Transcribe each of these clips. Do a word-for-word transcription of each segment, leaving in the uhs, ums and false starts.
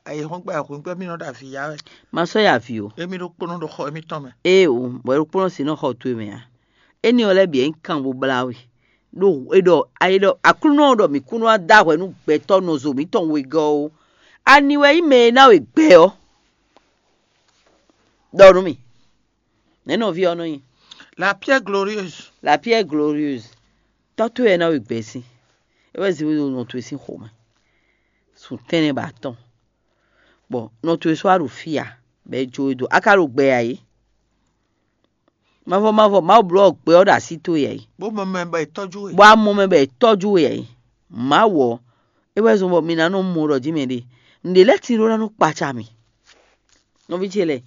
ayǐhɔ́ngbe ayǐhɔ́ngbe mì nɔ ɖo avǐ ya wɛ. Ma sɔ́ yi avǐ o. Émí ɖokpónɔ ɖo xɔ émítɔn mɛ. Ee o, bɔ ɖokpónɔ si nɔ xɔ towe mɛ a. Éní ɔ́ lɛ́ɛ bǐ é nyí kan bó blá we. Ɖó é ɖɔ ayé ɖɔ Aklúnɔ ɔ́ ɖɔ mǐ kún nɔ wá dó ahwɛ nú gbɛtɔ́ nɔzo mǐtɔn wegɔ́ ó. Ani wɛ nyí mɛ e ná we gbɛ ɔ́? Ɖɔ nú mì. Nɛ̌ nɔví ɔ́ nɔ nyí? La pierre glorieuse. La pierre glorieuse. Tɔ́ towe wɛ ná we gbɛ sín. É wɛ zin nɔ towe sín xomɛ. Sun tɛ́nnɛ ba atɔn. Bɔ nɔ towe sɔ́ wá ɖo fí a, bɔ é jó we dó. A ka ɖo gbɛ ǎ é? Mavɔ mavɔ Mawu bló gbɛ ɔ́ ɖo así towe ǎ é? Bó mɔ mɛ bɔ è tɔ́jú we. Bɔ a mɔ mɛ bɔ è tɔ́jú we ǎ é? Mawu ɔ́, é wɛ zɔ́n bɔ mi ná nɔ mɔ ɖɔ jí mɛ ɖe. Nǔɖé lɛ́ɛ tin ɖó ná nɔ kpaca mì. Nɔví ce lɛ́ɛ,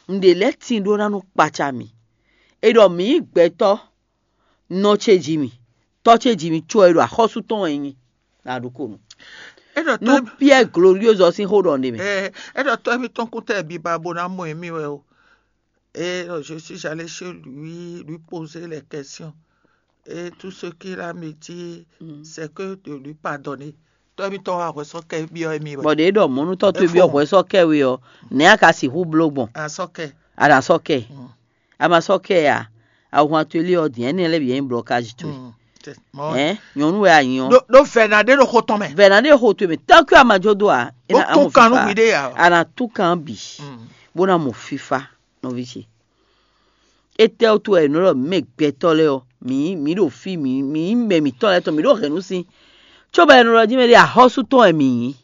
nǔɖé lɛ́ɛ tin ɖó ná nɔ kpaca mì. È ɖɔ mǐ nyí gbɛtɔ́, nɔ ce ji mì, tɔ́ ce ji mì có è ɖo axɔ́sú tɔn wɛ nyí. Nǎ ɖu ko nú. É ɖɔ Nú tɔ́ Pierre Gloriose ɔ́ sín xó ɖɔ n'i mɛ. ɛ é ɖɔ tɔ́ émítɔn kún tɛ biba bó ná mɔ émí wɛ o. Et euh, je suis allé chez lui, lui poser les questions. Et tout ce qu'il a me dit, c'est que de lui pardonner. Tɔ́ émítɔn wá hwɛ sɔ́ kɛ byɔ́ émí wɛ. Bɔ ɖě ɖɔ mɔ̌ nú tɔ́ towe byɔ́ hwɛ sɔ́ kɛ we ɔ́, nɛ̌ a ka sixú bló gbɔn? A sɔ́ kɛ. A ɖo asɔ́ kɛ. A ma sɔ́ kɛ a? Ahwan towe lé ɔ́ din, ɛnɛ lɛ́ɛ bǐ nyí blɔkázi towe. Mm. Mɔ- Ɛn, nyɔ̌nu wɛ a nyí ɔ́. Ɖó ɖó vɛ̌ ná ɖé ɖo xó tɔn mɛ. Vɛ̌ ná ɖé xo towe mɛ, tɔ́ kí a ma jó dó a? É Bó ná tún mɔ kan nú fífa. mi ɖé ya. A ná tún kan bǐ, Mm. bó ná mɔ fífa, nɔví ce. Étɛ́ wútu wɛ è nɔ ɖɔ mǐ mɛ gbɛtɔ́ lɛ́ɛ ɔ́, mǐ mǐ ɖo fí, mǐ mǐ mɛ mǐtɔn lɛ́ɛ tɔn, mǐ ɖo hɛ̌nnu sín. Cóbɔ è nɔ ɖɔ jí mɛ ɖé axɔ́sú tɔn wɛ mǐ nyí.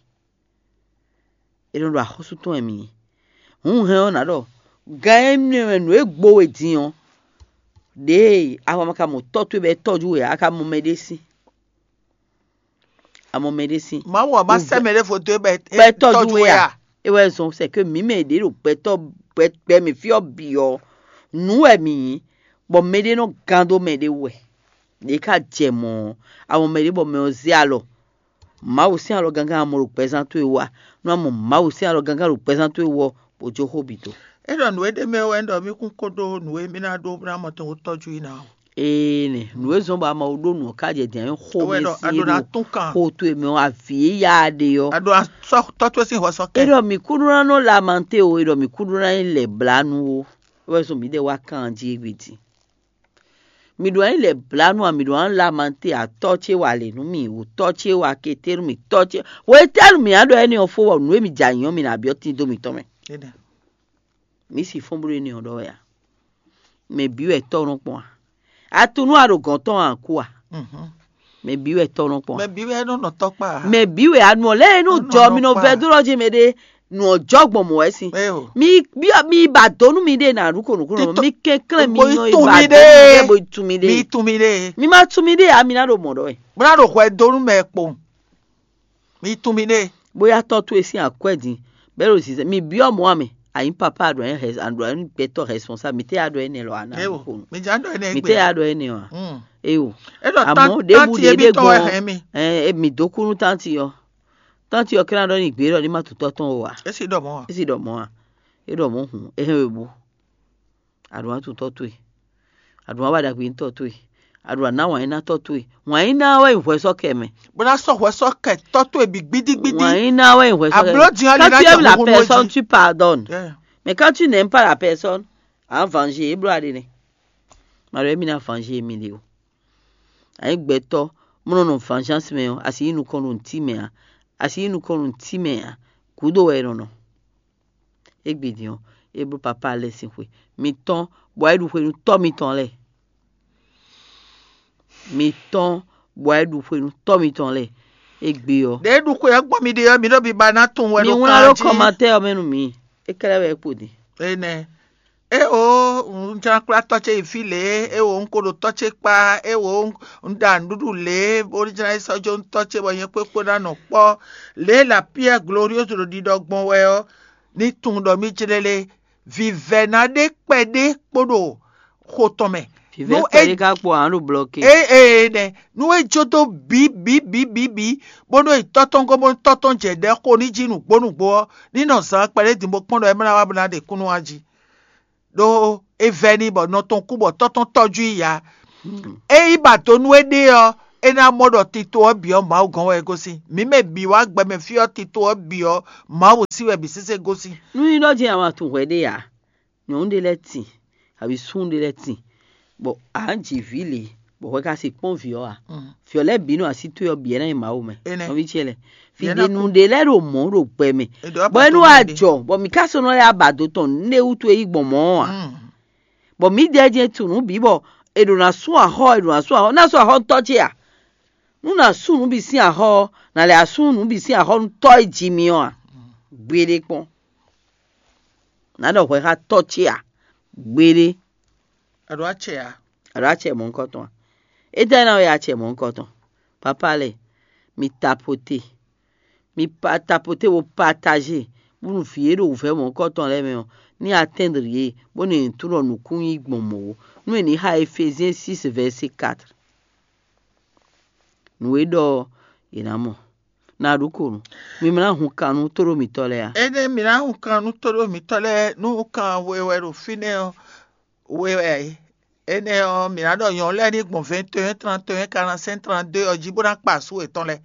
È nɔ ɖo axɔ́sú tɔn wɛ mǐ nyí. Hǔn hɛn ɔ́ nǎ ɖɔ gan énɛ́ mɛ nǔ e gbo we din ɔ́, ɖěe a ma ka mɔ tɔ́ towe bɔ é tɔ́jú we ǎ, a ka mɔ mɛ ɖé sín. A mɔ mɛ ɖé sín. Mawu ɔ́ má sɛ́ mɛ ɖěvo dó é bɔ é Bɔ é tɔ́jú we a? É wɛ zɔn c'est que mǐ mɛ ɖě ɖo gbɛtɔ́ gbɛ gbɛ mɛ fí ɔ́ bǐ ɔ́, nǔ wɛ mǐ nyí, bɔ mɛɖé nɔ gán dó mɛɖé wú wɛ. Ɖě ka jɛ mɔ̌ ɔ́, a mɔ mɛɖé bɔ mɛ ɔ́ zé alɔ. Mawu sín alɔ gángan a mɔ ɖo gbɛzán towe wú a? Nú a mɔ Mawu sín alɔ gángan ɖo gbɛzán towe wú ɔ́, bó jó xó bǐ dó. É ɖɔ nǔ e ɖ'é mɛ wɛ un ɖɔ mí kún kó ɖó nǔ e mí ná ɖó bó ná mɔ tɔn kó tɔ́jú i ná o. Ee nɛ, nǔ e zɔ́n bɔ a ma ɖó nǔ ɔ́ ká jɛ din ɛ xó É wɛ mɛ ɖɔ a sí ɖó ná ɖo tún kan. Xó towe mɛ ɔ́, avǐ e ya ɖe ɔ́. A ɖó ná sɔ́ tɔ́ towe sín hwɛ sɔ́ kɛ. Eɖɔ mǐ kúɖó ná nɔ lamante o, eɖɔ mǐ kúɖó ná nyí lɛ̌blánú o. É wɛ zɔn mǐ ɖe wá kan jí égbé din. Mǐ ɖo ná nyí lɛ̌blánú a, mǐ ɖo ná lamante atɔ́ ce wa lě nú mì, wǒtɔ́ ce wa kété nú mì, tɔ́ ce. Wětɛ́nu mǐ á ɖɔ énɛ́ ɔ́ fó wɔ nǔ e mǐ jɛ anyǐ ɔ́, mǐ ná byɔ́ tín dó mǐtɔn mɛ. Énɛ́. Mǐ si fɔ́n bló énɛ́ ɔ́ ɖɔ wɛ a? Mɛ bǐ wɛ tɔ́ nɔ kpɔn a? Atunu a ɖo gɔ̌n tɔn a kú a? Mhm. Mɛ bǐ wɛ tɔ́ nɔ kpɔn a? Mɛ bǐ wɛ nɔ nɔ tɔ́ kpa. Mɛ bǐ wɛ anuɔ lɛ e nɔ Nɔ jɔ nɔ mi nɔ kpa. Vɛ dó lɔ jí mɛ ɖé nɔ jɔ gbɔn mɔ wɛ si. Eo. Mi byɔ mi ba dó nú mi ɖe na ɖu konu konu Tito- mi kɛnklɛn mi Bo nɔ tún ba mi dó mi ɖe ɖe. bo tún mi Mi ɖe. tún mi ɖe. Mi ma tún mi ɖe a mi na ɖo mɔ ɖɔ wɛ. Bó ná ɖo hwɛ dó nú mɛ kpo. Mi tún mi ɖe. Bóyá tɔ́ towe sín akwɛ́ din bɛ́ ɖo zinzɛn mi byɔ mɔ amɛ. Anyi papa aɖɔ anyi hɛ aɖɔ anyi gbɛtɔ hɛspɔnsa mi tɛ aɖɔ ɛnɛ lɔ ana Eo. konu. Mi dza ɖɔ ɛnɛ Mi gbe. tɛ aɖɔ ɛnɛ wa. Mm. Eyo. E ɖɔ Àmọ́ tan- ɖěbǔ tanti ɖě ebi ɖé tɔn wɛ gbɔn hɛn mi. Ɛ mi dó kú nú tanti ɔ. Tanti ɔ kɛ́ ná ɖɔ ní gbé ɖɔ ní ma tutɔ tɔn o wa. Esi ɖɔ mɔ wa. Esi ɖɔ mɔ wa. E ɖɔ mɔ hun. Ehɛn we bu. Aɖu wa tutɔ to e. Aɖu wa ba ɖagbe ŋutɔ to e. Aɖu wa ná wǎn yín ná tɔ to e. Wǎn yín ná wɛ hwɛ sɔ kɛ mɛ. Bó ná sɔ hwɛ sɔ kɛ tɔ to ebi gbidigbidi. Wǎn yín ná wɛ hwɛ sɔ kɛ Ablɔ mɛ. diyan Quand lina tu jɛ aimes la huhu personne, ji. Tu pardonnes. Yeah. Mais quand tu n'aimes pas la personne, en venger, e bló aɖe nɛ. Maɖo emi ná venger mi ɖe o. Anyi gbɛtɔ mɔ nɔ nɔ vengeance mɛ ɔ, asi yi nukɔn ɖo ŋti mɛ a, asi yi nukɔn ɖo ŋti mɛ a, gúdo wɛ e nɔ nɔ. Égbé din ɔ, é bló papa lɛ́ɛ sín xwe. Mi tɔn bɔ é ɖu xwe nú tɔ́ mitɔn lɛ́ɛ. Mi tɔn bɔ é ɖu xwe nú tɔ́ mitɔn lɛ́ɛ. Égbé ɔ, Ɖe ɖu xwe ɔ́ gbɔn mi ɖe ɔ́, mi ɖo biba ná tun wɛ mi ɖo wlán kan ɖó jí. Kɔmatɛ ɔ mɛ nú mi. É kɛlɛ wɛ kpo din. Enɛ. E o, un jla kpla tɔ ce yi fi lě, e o, un ko ɖo tɔ ce kpa, e o, un ɖa nǔɖuɖu lě, bó jla yi sɔ́ jó tɔ ce bɔ nyɛ kpékpé ná nɔ kpɔ́. Lě la Pierre Gloriose ɖo ɖiɖɔ gbɔn wɛ ɔ́, ní tunwun ɖɔ mí jlé lé. Vivɛ̌ ná ɖe kpɛɖé kpó ɖo xo tɔn mɛ. Vivɛ Nú kpɛ é- ɖé ká kpɔ hàn ɖo blɔke. Ee ee nɛ, nú é jó dó bǐ bǐ bǐ bǐ bǐ, bónú è tɔ́ tɔn gɔ́ bónú tɔ́ tɔn jɛ ɖɛ̌ xo ní jí nǔgbó nǔgbó ɔ́, ní nɔ zǎn kpɛɖé din bó kpɔ́n ɖɔ é mlá wá bó ná ɖe kúnnu wá jí. Ɖó é vɛ́ n'i bɔ nɔ tɔn kú bɔ tɔ́ tɔn tɔ́jú i ǎ. É yi ba do nú éɖée ɔ́, É ná mɔ ɖɔ tito ɔ́ bǐ ɔ́ Mawu gɔ́n wɛ é gosín. Mǐ mɛ bǐ wá gbɛmɛ fí ɔ́, tito ɔ́ bǐ ɔ́, Mawu sí wɛ bǐ sésé gosín. Nú nyí ɖɔ jɛ́n a ma tunwun hwɛ ɖé ǎ, nyɔ̌nu ɖé lɛ́ɛ tin, abǐ súnnu ɖé lɛ́ɛ tin, bɔ a nǎ ji vǐ lě, bɔ hwɛ ka se kpɔ́n vǐ ɔ́ ǎ. Vǐ ɔ́ lɛ́ɛ bǐ nɔ así towe ɔ́ bǐ ɛ ná nyí Mawu mɛ. Nɔví ce lɛ́ɛ, fí ɖé nu ɖé lɛ́ɛ ɖo mɔ̌ ɖo gbɛ mɛ, bɔ é nú wá jɔ, bɔ mǐ ka sɔ́ nɔ lɛ́ abǎ dó tɔn nǔɖé wútu e yí gbɔn mɔ̌ ɔ́ ǎ. Bɔ mǐdɛɛ jɛ́n tunwun nǔ bǐ bɔ è ɖǒ ná sú axɔ́, è ɖǒ ná sú axɔ́, ná sú axɔ́ nú tɔ́ ce a? Nú nǎ sú nǔ bǐ sín axɔ́ ɔ́, nǎ lɛ́ sú nǔ bǐ sín axɔ́ nú tɔ́ e ji mì ɔ́ a? Gbeɖé kpɔ́n. Nǎ ɖɔ hwɛ xá tɔ́ ce a? Gbeɖé. A ɖǒ acɛ a? A ɖǒ acɛ mɔ̌hunkɔtɔn a? Étɛ́ ná wɛ acɛ mɔ̌hunkɔtɔn? Papá lɛ́ɛ, mi tapote. Mi pa tapote bo pataje, bónú vǐ e ɖo wǔvɛ́ mɔ̌hunkɔtɔn lɛ́ɛ mɛ ɔ́, ní atɛ́ndri yě, bónú yě ní tunwun ɖɔ nǔkún nyí gbɔn mɔ̌ ó. Nú è nǐ xa Efezyɛn six verset quatre. Nǔ e ɖɔ ɔ́, è nǎ mɔ. Nǎ ɖu ko nú mi ma ná hun kan nú tóɖó mǐtɔn lɛ́ɛ a? Énɛ́ mǐ ná hun kan nú tóɖó mǐtɔn lɛ́ɛ, nú kan we wɛ ɖo fínɛ́ ɔ́, we wɛ ǎ é. Énɛ́ ɔ́, mǐ ná ɖɔ nyɔ̌nu lɛ́ɛ ní gbɔn vingt et un, trente et un, quarante-cinq, trente-deux ɔ́ jí bó ná kpa asú yětɔn lɛ́ɛ.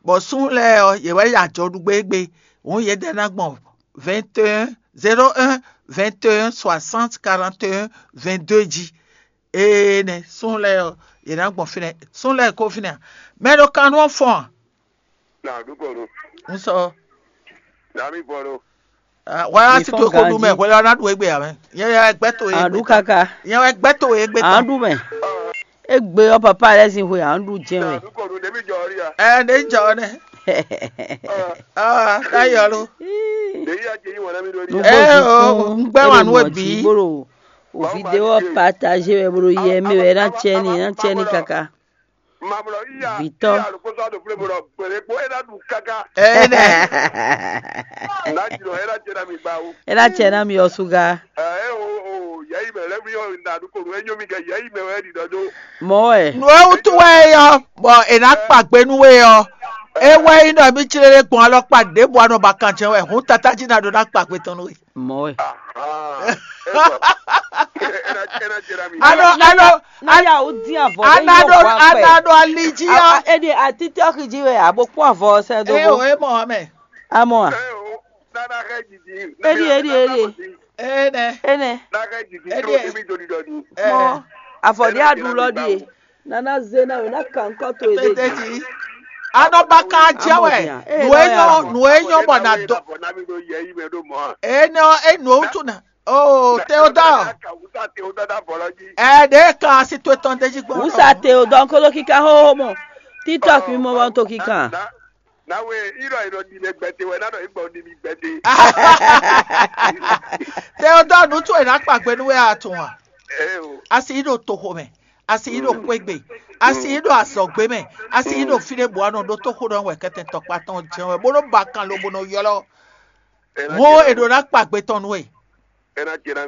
Bɔ súnnu lɛ́ɛ ɔ́, yě wɛ yi ajɔ ɖu gbé égbé. Hǔn yědɛɛ ná gbɔn vingt et un, zéro un, vingt et un, soixante, quarante et un, vingt-deux jí. Énɛ́ súnnu lɛ́ɛ ɔ́, yě ná gbɔn fínɛ́. Súnnu lɛ́ɛ ko fínɛ́ a? Mɛ ɖo kan nú ɔ́ fɔ́n a? Na ɖu kɔ nu. Un sɔ. Na mi bɔ ɖo. Wá á sí tó kó ɖu mɛ hwɛ lɔ ná ɖu égbé ǎ mɛ. Nyɛ wɛ gbɛ́ to e. Aɖu kaka. Nyɛ wɛ gbɛ́ to e gbé tɔn. Aɖu mɛ. Egbe ɔ́ papa lɛ́ sin xwe aɖu jɛn wɛ. Na ɖu kɔ nu ɖe mi jɔ ɔ́ ɖi a. Ɛ ɖe jɔ ɔ́ nɛ. Aa ká yɔ lo. Ɖe yi a jɛ yi wɔn na mi ɖo ɖi. Nugbo zikún un gbɛ wa nu e bi. Bolo o video partager wɛ bolo yɛ mi wɛ na cɛ ni na cɛ ni kaka. Vitɔ. Ɛnɛ. Ena cɛ na mi ɔsuga. Mɔ wɛ. Nǔ e wútu wɛ é yɔ, bɔ è nǎ kpa gbe nú we ɔ́, é wɛ nyí ɖɔ mí clé ɖé gbɔn alɔkpa ɖěbǔ anɔ ba kan jɛ́n wɛ, hǔn tatá jí ná ɖó ná kpa gbe tɔn nú we. Mɔ wɛ. Anɔ anɔ Ná yà ó dín àvɔ. Ana ɖo ana ɖo ali jí ɔ́. Ede atitɔ xi jí wɛ abo kpɔn avɔ sɛ do. Eye bo. O e mɔ ɔmɛ. Amɔ a. Nana xɛ jiji. Edi edi edi. Ene. Ene. Nana xɛ jiji. Edi. Tro mi jodi dɔdi. Mɔ avɔ di adu lɔ di. Nana ze na o na kan kɔ to ede. Tete ji. Anɔ ba kan jɛ wɛ. Nu e nyɔ nu e nyɔ bɔ na dɔ. Ene ɔ enu o tu na. Oh, Théodore. Ɛ ɖe kan asi to etɔn ɖe jí gbɔn. Wusa Théodore kolo kíká hóhó mɔ. TikTok mi mɔ wọn to kíká. Nawe irɔ irɔ di mɛ gbɛte wɛ nanɔ igbɔ di mi gbɛte. Théodore nu tún ena kpa gbe nu wɛ atún wa. Asi yi ɖo toxo mɛ, asi yi ɖo kpegbe, asi yi ɖo azɔgbe mɛ, asi yi ɖo fi ɖe bɔ anɔ ɖo toxo ɖɔ wɛ kɛtɛ tɔkpa tɔn jɛ wɛ bó nɔ ba kan lo bó nɔ yɔlɔ. Wo e ɖo ná kpa gbe tɔn nú we.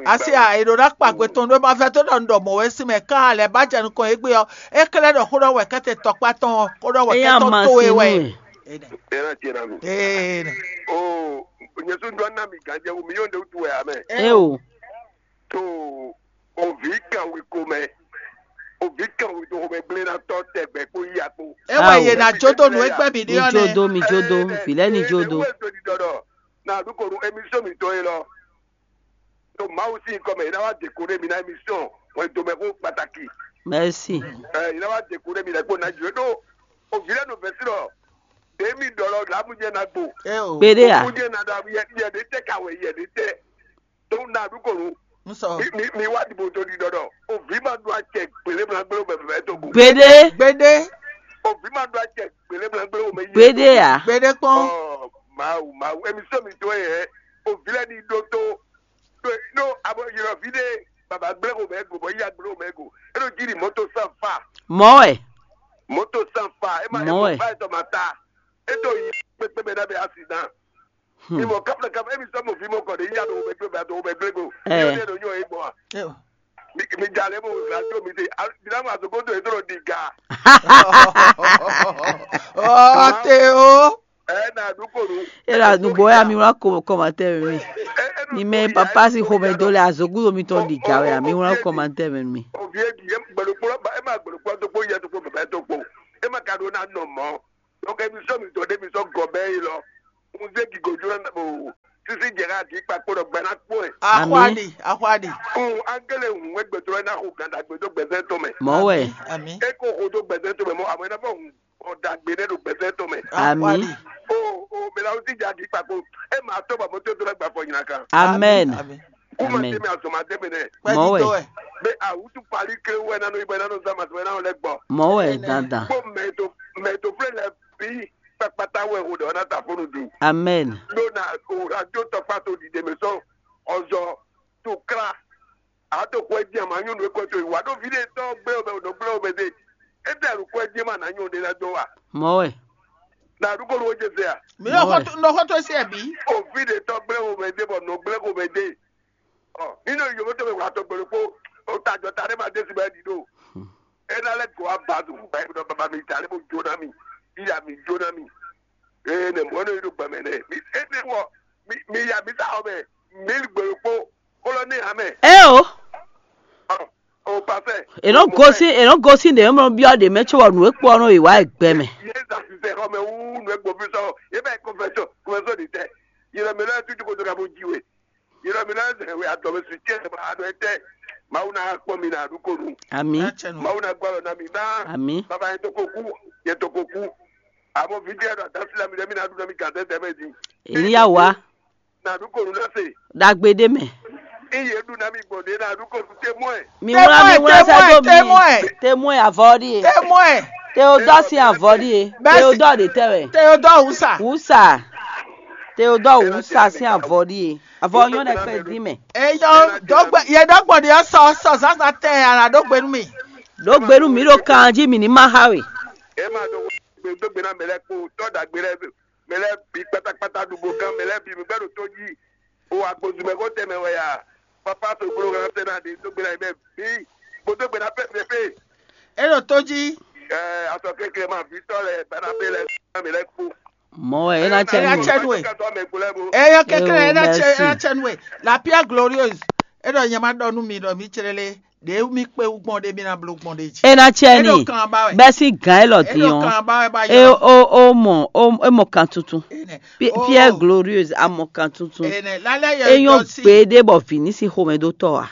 Asi a e ɖo ná kpa gbe tɔn nú we ma vɛ tó ɖɔ un ɖɔ mɔ̌ wɛ sín mɛ kán lɛ́ ba jɛ nukɔn égbé ɔ́, é klɛ́ ɖɔ xó ɖɔ wɛ kɛ́tɛ tɔkpá tɔn ɔ́, xó ɖɔ wɛ kɛ́tɔ́ towe wɛ. Ee. Nyɛsú ɖɔ ná mi gǎnjɛ wú mi yóò ɖe wútu wɛ amɛ. Eo. To òví kan wí ko mɛ, òví kan wí to xomɛ gblé ná tɔ tɛgbɛ kpó yíya kpó. É wɛ yě ná jó dó nǔ e gbɛ́ mǐ ɖe ɔ́ nɛ́. Mi jó dó, mi jó dó, vǐ lɛ́ɛ ní jó dó. Na ɖu ko nu émission mitɔn e lɔ. To Mawu sín kɔ mɛ, yě ná wá décorer mi ná émission hwɛndo mɛ xó pàtàkì. Merci. Ɛ yě ná wá décorer mi lɛ kpó ná jù é ɖó. Òví lɛ́ɛ nɔ vɛ̌ sí lɔ. Dèémí ɖɔ lɔ làámú jẹ́ ná gbo. Gbédé à. Òkú jẹ́ ná ɖɔ yɛ yɛ ɖé tɛ kawɛ yɛ ɖé tɛ. Tó ná ɖu kò nu. N sɔ. Mi mi mi wá dìbò tó di dɔdɔ. Òví ma ɖu acɛ gbélé mla gbélé mɛ fɛ tó kù. Gbédé. Gbédé. Òví ma ɖu acɛ gbélé mla gbélé mɛ yé. Gbédé à. Gbédé kpɔn. Ɔ Mawu Mawu émission mi tó yɛ. Òví lɛ ni ɖó tó. Ɖó abɔ yɔrɔvi ɖe baba gblẽ xo mɛ go bɔ yíya gblẽ xo mɛ go. Eɖo jí ni mɔto san fa. Mɔ wɛ. Mɔto san fa ema Mɔ wɛ. Eto ba etɔ ma ta. Eto yi kpekpe mɛ na bɛ accident. Imɔ kapla kapla emi sɔ mo vi mo kɔ de yíya do wo bɛ gblẽ bɛ do wo bɛ gblẽ go. Ɛ. Yóò de do nyɔ ye gbɔ wa. Mi mi dza lɛ mo radio mi de mi na mo azogo do eto di ga. Ɔ te o. Ɛ na du ko nu. E la nugbo ya mi wla ko kɔmatɛ mi. Ni mɛ papa si xomɛ do le azogudo mitɔn ɖi ga wɛ mi wla kɔmatɛ mi. Ovi e di e gbɛlɛ kplɔ ba e ma gbɛlɛ kplɔ do kpo yɛ do kpo bɛbɛ do kpo. É ma ka ɖó ná nɔ mɔ̌. Donc émission mi zɔ ɖé mi sɔ́ gɔbɛ yi lɔ. Un zé gigo jló ná o. Sisi jɛ ká di kpakpo ɖɔ gbɛ ná kpɔ́n ɛ. Ahwadi, ahwadi. Un angele hun wɛ gbɛtɔ́ ná xo ganda gbɛdó gbɛzɛn tɔn mɛ. Mɔ̌ wɛ. Ami. É ko xo dó gbɛzɛn tɔn mɛ mɔ amɔ ná fɔ hun ɔdagbe nɛ ɖo gbɛzɛn tɔn mɛ. Ami. O o mɛ la wúti ja di kpakpo. E ma tɔ ba mɔtɔ dó la gba fɔ nyina kan. Amen. Amen. Kuma tɛmɛ azɔma tɛmɛ nɛ. Mɔ̌ wɛ. Bɛ awutu pali kle wɛ nanu ibɛ nanu zama sɛ nanu lɛ gbɔ. Mɔ̌ wɛ dandan. Kpó mɛ to mɛ to flɛ lɛ bi kpakpata wɛ o dɔ na ta fonu dun. Amen. Ɖó na o radio tɔkpa to dide mɛ sɔn ɔzɔ to kla a to kɔ ɛ di a ma nyɔnu e kɔ to yi wa ɖo vi ɖe tɔ gblɛ o mɛ o nɔ gblɛ o mɛ de e tɛ ɖo kɔ ɛ di ma na nyɔnu ɖe na dɔ wa. Mɔ̌ wɛ. Na ɖu ko ɖo jɛ se a. Mi nɔ xɔ to nɔ xɔ to se ɛ bi. O vi ɖe tɔ gblɛ o mɛ de bɔ nɔ gblɛ o mɛ de. Ɔ mi nɔ yovo tɔn mɛ wla tɔn gbɛ ɖokpó o ta jɔ ta ɖe ma desi bɛ ɖi ɖo. E na lɛ gɔ wa ba do ba yi nɔ baba mi ta lɛ bo jo na mi. Iya mi jo na mi. Ee nɛ mɔ nɔ yi ɖo gbɛ mɛ nɛ. Mi e ne wɔ mi mi ya mi ta xɔ mɛ mi gbɛ ɖokpó. Kolo ní hàn mɛ. Eo. O pasɛ. Ènɔ gosi ènɔ gosi ɖe mɔ biɔ ɖe mɛ tso wɔ nǔ e kpɔ nɔ yi wá gbɛ mɛ. Yé zan sisɛ xɔ mɛ wú nù egbò fi sɔ yé bɛ kɔfɛsɔ kɔfɛsɔ ɖi tɛ. Yìlɔ mi lɔ tutu koto ka bo ji we. Yìlɔ mi lɔ zɛ we adɔ mi su tiɛ ma adɔ etɛ. Mawu na kpɔ mi na du konu. Ami. Mawu na gbɔ lɔ na mi na. Ami. Baba yẹn to ko ku yẹn to ko ku. Àmọ́ fi díẹ̀ dɔ àdásílẹ̀ mi lẹ́mí na dúró mi gàdé tẹ́mẹ́ di. Èyí yà wá. Nàdúkòrú náà sè. Dàgbé dé mẹ́. Iye dun náà mi gbọ̀n dé nàdúkòrú tẹ́ mọ́ ẹ̀. Mi wúlá mi wúlá sẹ́ tó mi. Témọ́ ẹ̀. Témọ́ ẹ̀ àvọ́ dí e. Témọ́ ẹ̀. Teodọ́ sí àvọ́ dí e. Bẹ́ẹ̀ sì. Teodọ́ de tẹ́ wẹ̀. Teodọ́ Wúsà. Wúsà. Teodọ́ Wúsà sí àvọ́ dí e. Àvọ́ yɔn dɛ pẹ́ dín mẹ́. Eyɔ dɔgbe yɛ dɔgbo de sɔ sɔ zaza tɛ ara dɔgbe nu mi. Dɔgbe nu mi ɖo kan jí mi ní má xa we. Ẹ máa dɔgbo gbé dɔgbe náà mẹ lẹ kpó tọ́ dàgbé lẹ mɛ lɛ́ɛ bǐ kpátákpátá ɖu bo gán mɛ lɛ́ɛ bǐ mi gbɛ́ ɖo tó jí. O wa gbozumɛ xó tɛnmɛ wɛ ya? Papa to gblo hɛn sɛ na ɖe dó gbe na yi mɛ bǐ. Kpódó gbe na pɛ fɛ fɛ. É ɖo tó jí. Ɛ asɔ kékeré ma vǐ tɔ́ lɛ bana bɛ lɛ mɛ lɛ kpó. Mɔ wɛ é ná cɛ nú. Ɛ ná cɛ nú ɛ. Ɛ yɔ kékeré é ná cɛ é ná cɛ nú ɛ. La pierre glorieuse. É ɖɔ nyɛ ma ɖɔ nú mi ɖɔ mi cɛ lé. Ɖě mì kpé wú gbɔn ɖé mì ná bló gbɔn ɖé jí. É ná cɛ ní bɛ́ sín gǎn élɔ́ dín ɔ́, é ó mɔ é mɔ kan tuntun. Pierre Glorieuse a mɔ kan tuntun. É nyɔ́ gběɖé bɔ vǐ ní sín xomɛ dó tɔ́ ǎ.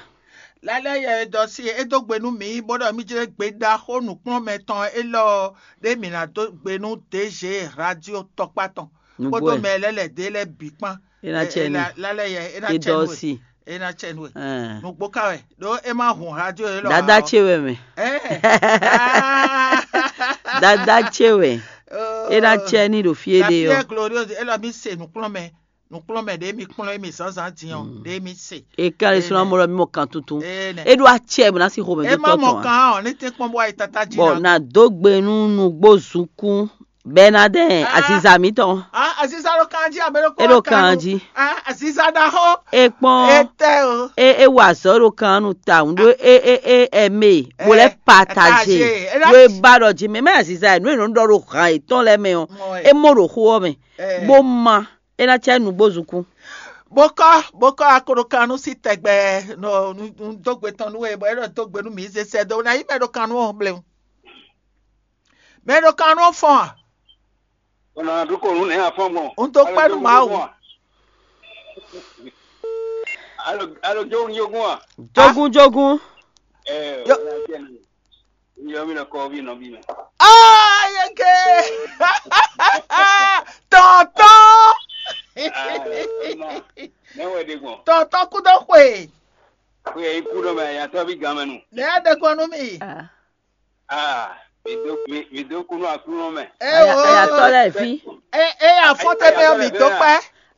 Lálẹ́ yɛ é dɔ sí é dó gbe nú mǐ bó ɖɔ mí jlé gbe ɖaxó nǔkplɔ́nmɛ tɔn élɔ́ ɔ́ ɖé mǐ ná dó gbe nú D G radio tɔkpá tɔn kpódó mɛ lɛ́ lɛ̌ dé lɛ́ɛ bǐ kpán. É ná cɛ ní. Lálẹ́ yɛ é ná cɛ nú we. É ná cɛ nú we. Nǔgbó ká wɛ ɖó é má hun radio élɔ́. Dada ce wɛ mɛ. Dada ce wɛ. É ná cɛ ní ɖo fí é ɖe ɔ́. Gloriose élɔ́ mi se nǔkplɔ́nmɛ nǔkplɔ́nmɛ ɖě mi kplɔ́n émi zǎnzǎn din ɔ́ ɖě mi se. É ká lè sɔ́ ná mɔ ɖɔ mi mɔ kan tuntun. É ɖó acɛ bɔ ná sí xomɛ dó tɔ́ tɔn. É má mɔ kan ɔ́ ní tɛ́n kpɔ́n bó wá yi tata jí ná. Bɔ ná dó gbe nú nǔgbó zunkún. Bɛnadɛn aziza mǐtɔn. Aziza ɖo kan jí abɛ ɖo kpɔ́n. É ɖo kan jí. Aziza ɖaxó. É kpɔ́n. Etɛ o. É é wa azɔ̌ ɖo kan nu ta ŋu ɖó é é é ɛmɛ bó lɛ pataje ɖó é ba ɖɔ jí mɛ mɛ aziza ɛ nú é nɔ ɖɔ ɖo hàn yětɔn lɛ́ɛ mɛ ɔ́ é mɔ ɖo xó ɔ́ mɛ bó ma é ná cɛ nǔgbó zukún. Bó kɔ́ bó kɔ́ a ko ɖo kan nú sí tɛgbɛ nɔ nu dó gbe tɔn nú we bɔ é ɖɔ dó gbe nú mǐ zé sɛ dó ná yí mɛ ɖo kan nú ɔ́ blewu. Mɛ ɖo kan nú ɔ́ fɔ́n a? Ọ̀nà àdúgbò òun ní àfọ́n gbọ̀n. N tó pẹ́ nú màá wò. Alo jógún jógún à. Jógún jógún. Ẹ ẹ yọ mi lọ kọ bí nọ bí mẹ. Ayeke tọ̀tọ̀ Mẹ́wẹ̀ẹ́ de gbọ̀n. Tọ̀tọ̀ kúdọ̀ pé. Pé ikú náà mẹ yàtọ̀ bí gan mẹ́nu. Lẹ́yìn de gbọ́n nú mi. Ah, mi dó mi mi dó kúnú aklúnú mɛ. Ẹ o. Ayatɔ lɛ fi. Ẹ ẹ afɔtɛ bɛ mi dó pɛ.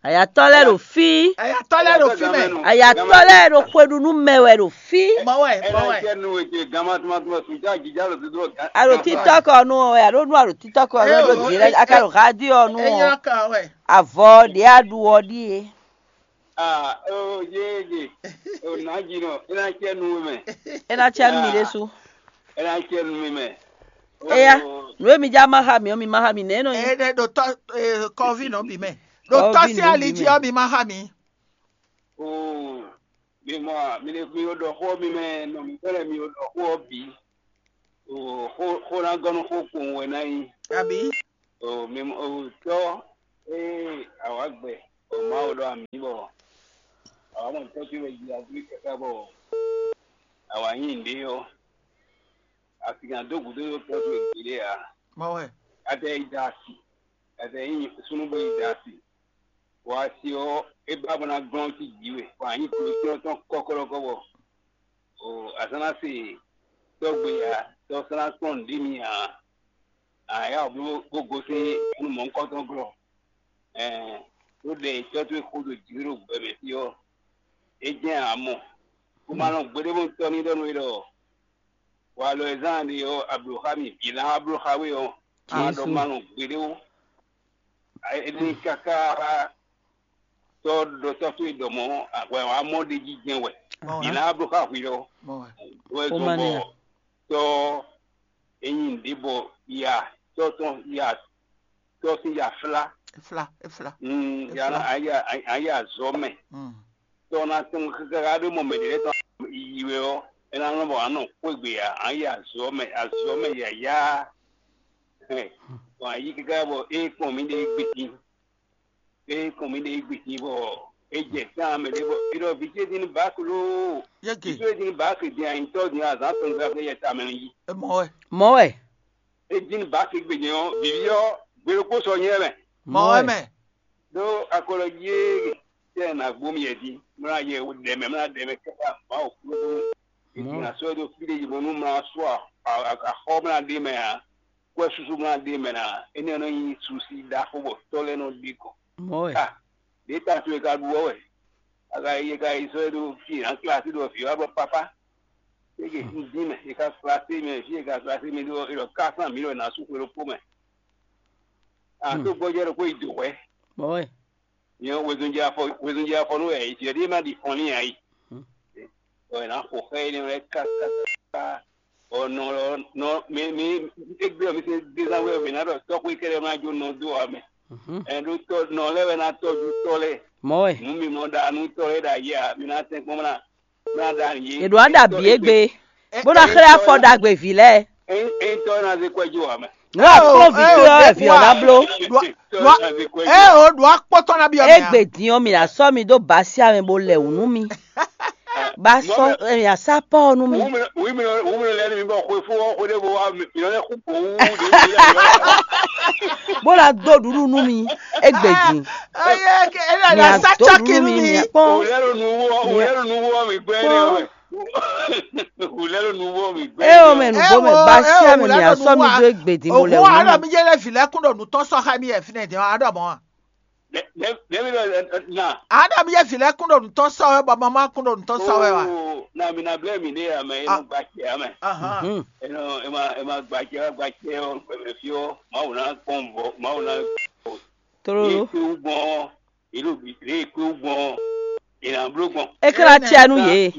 Ayatɔ lɛ ɖo fi. Ayatɔ lɛ ɖo fi mɛ. Ayatɔ lɛ ɖo xweɖunu mɛ wɛ ɖo fi. Mɔwɛ mɔwɛ. Ɛnɛ nu ete gama tuma tuma sunjá jija lɔ dodo. Alo tiktok ɔnu ɔ alo nu alo tiktok ɔnu alo diɛ aka ɖo radio ɔnu ɔ. Avɔ ɖe aɖu ɔ ɖie. Ah, oh, yeye. Oh, na jino, ina che nu me. Ena cɛ nu mi ɖésú. Ina che nu me. Eya, nu emi dza ma xa mi ɔ mi ma xa mi nɛ nɔ nyi. Ene ɖo tɔ kɔvi nɔ bi mɛ. Ɖo tɔ si ali dzi ɔ mi ma xa mi. Oh, mi mɔ, mi le mi o ɖɔ xɔ mi mɛ, nɔ mi fɛnɛ mi o ɖɔ xɔ bi. O xó xó ná gɔ́ nú xó kpowun wɛ ná nyí. Abǐ? O mi o tɔ́, ée awǎ gbɛ, o Mawu ɖɔ amǐ bɔ awǎ mɔ tɔ́ towe jí agbé káká bɔ awǎ nyi nǔɖé ɔ́, a sixá dó gǔdo ɖó tɔ́ towe gbeɖé ǎ. Mɔ wɛ. A tɛ yi da asi, a tɛ yi súnnu bó yi da asi. Bɔ asi ɔ́, é ba bó ná glɔ́n cí jǐ we, bɔ a nyǐ glǒcyɔ́n tɔn kɔ́kɔ́ɖɔkɔ́ bɔ o a zán ná se tɔ́ gbe ǎ, tɔ́ sán ná kplɔ́n nǔɖé mi ǎ. A yá wǔ bó gosín nú mɔ̌hunkɔtɔn glɔ́. Ɛɛ, ɖó ɖɛ e tɔ́ towe xo ɖo jǐ we ɖo gbɛ mɛ fí ɔ́, é jɛ́n ǎ mɔ. Bó ma nɔ gbeɖé bó tɔ́ ní ɖɔ nú we ɖɔ walɔ e zán ɖe ɔ́, a blǒ xá mì vǐ ná wá bló xá we ɔ́, a ma ɖɔ ma nɔ gbeɖé ó. Énɛ́ káká tɔ́ ɖɔ tɔ́ towe ɖɔ mɔ̌, wɛ wǎ mɔ ɖ'é jí jɛ́n wɛ. Mɔ Vǐ wɛ. Ná wá bló xá hwi lɔ. Mɔ wɛ. Wɛ zɔn bɔ tɔ́ e nyi nǔɖé bɔ ya tɔ́ tɔn ya tɔ́ sín ya flá. Efla, efla. Mm, ya Efla. Ná a ya a ya azɔ̌ mɛ. Mm. Tɔ́ ná tɔn káká ɖó mɔ mɛ ɖě lɛ́ɛ tɔn yi wɛ ɔ́, é ná nɔ bɔ a nɔ xwé gbe ǎ, a yi azɔ̌ mɛ, azɔ̌ mɛ yǎyá. Bɔ a yí káká bɔ é kpɔn mì ɖe é gbe tín. É kpɔn mì ɖe é gbe tín bɔ é jɛ tán mɛ ɖé bɔ é ɖɔ vǐ ce dín ní bǎ klo. Yége. Vǐ ce dín ní bǎ klo dín anyitɔ́ dín azǎn tɔn gbá fɛ yɛ tamɛ ní yí. Mɔ wɛ. Mɔ wɛ. É dín ní bǎ klo gbe nyɛ ɔ́, vǐví ɔ́, gbe ɖokpó sɔ nyɛ mɛ. Mɔ wɛ mɛ. Ɖó akɔlɔ jí é tɛ nǎ gbó mì yɛ jí, mlá yɛ ɖɛ mɛ, mlá ɖɛ mɛ káká Mawu kúɖó. Mɔ. Ná sɔ́ ɛ dó fí ɖé yi bɔ nú mlá sú axɔ mlá ɖé mɛ ǎ, kwɛ́ súsú mlá ɖé mɛ ná, énɛ́ nɔ nyí susi ɖaxó bɔ tɔ́ lɛ́ɛ nɔ ɖi kɔ. Mɔ wɛ. Ka ɖě ta towe ka ɖu ɔ́ wɛ. A ka yi e ka yi sɔ́ ɛ dó fí ná klásí ɖo vǐ wá bɔ pápá. Eke un dín mɛ, e ka klásí mɛ, fí e ka klásí mɛ ɖó e ɖɔ ká sán mǐ ɖɔ è nǎ sú xwe ɖokpó mɛ. A tó gbɔjɛ́ ɖokpó yi dǒ hwɛ̌. Mɔ wɛ. Nyɛ wezun jɛ afɔ wezun jɛ afɔ nú wɛ yi jɛ ɖíe má ɖi fɔn n'i ǎ yi. Bɔ è nǎ xo xá énɛ́ lɛ́ɛ kákáká. Bɔ nɔ lɔ nɔ mi mi égbé ɔ́ mi se dézanwé ɔ́ mǐ ná ɖɔ tɔ́xwé kɛ́ɖɛ́ má jó nɔ dó ǎ mɛ. Ɛn ɖó tɔ́ nɔ lɛ́ɛ wɛ ná tɔ́jú tɔ́ lɛ́ɛ. Mɔ wɛ. Nǔ mi mɔ ɖa nú tɔ́ lɛ́ɛ ɖo ayé ǎ, mi ná tɛ́nkpɔ́n ná ná ɖa nǔ yé. È ɖǒ á ɖo abǐ égbé, bó ná xlɛ́ afɔ ɖagbe vǐ lɛ́ɛ. Ényí tɔ́ ná zé kwɛ́ jó ǎ mɛ. Nú a kplɔ́n vǐ towe ɔ́, vǐ ɔ́ ná bló. Ée o ɖo akpɔ́tɔ́ ná byɔ́ mɛ a? Égbé din ɔ́, mǐ ná sɔ́ mi dó basi ame bó lɛ wǔ nú mì. Ba sɔ́ mǐ ná sá pɔ́ ɔ́ nú mì. Wǔmínɔ lɛ́ɛ nú mi bɔ xwefó ɔ́ xwé ɖěvo wá mǐ nɔ lɛ́ xú gbǒ wú ɖě mi lɛ́. Bó ná dó ɖuɖu nú mi. Égbé din. Mǐ ná dó ɖuɖu nú mi, mǐ ná kpɔ́n. Wǔlɛ́ ɖo nuwó ɔ́, wǔlɛ́ ɖo nuwó ɔ́ mǐ gbɛ́ nɛ́ wɛ. Wǔlɛ́ ɖo nuwó ɔ́ mǐ gbɛ́. É o mɛ nǔgbó mɛ, basi ame mǐ ná sɔ́ mi dó égbé din bó lɛ wǔ nú mi. Òun á ɖɔ mi jẹ́ lɛ vǐ lɛ́kún ɖo nǔ tɔn sɔ́ xá mi yɛ fínɛ́ din ɔ́, á ɖɔ mɔ̌ a? Nɛ̌ nɛ̌ mi ɖɔ na? Aɖɔ mi yɛ vǐ lɛ́ɛ kún ɖo nǔ tɔn sɔ́ wɛ, bɔ mama kún ɖo nǔ tɔn sɔ́ wɛ wa? Oo, na mi na blɛ́ mi ɖe ame e nɔ gba acɛ ame. Ahan. Mhm. E nɔ e ma e ma gba acɛ wá gba acɛ ɔ́ gbɛmɛ fí ɔ́, Mawu ná kpɔn vɔ, Mawu ná Tlóló. Yě kpé wú gbɔn ɔ́, yě ɖo bǐ lě e kpé wú gbɔn ɔ́, yě ná bló gbɔn. É ká ná cɛ nú yě.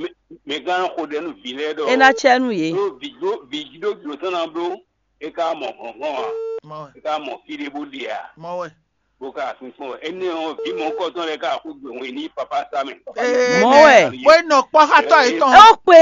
Mɛ gán xo ɖɛ nú vǐ lɛ́ɛ ɖɔ. É ná cɛ nú yě. Ɖó vǐ ɖó vǐ ɖó jlǒ tɔn ná bló, é ká mɔ hlɔ̌nhlɔ́n ǎ, Mɔ wɛ. É ká mɔ fí ɖé bó ɖe ǎ. Mɔ wɛ. Bó ka asun kpɔ́n wɛ. Énɛ́ ɔ́, vǐ mɔ̌hunkɔtɔn lɛ́ɛ ka xwé gbe wɛn n'i papá sá mɛ. Ee, Mɔ̌ wɛ. Bó nɔ kpɔ́ xá tɔ́ yětɔn. É ó kpé.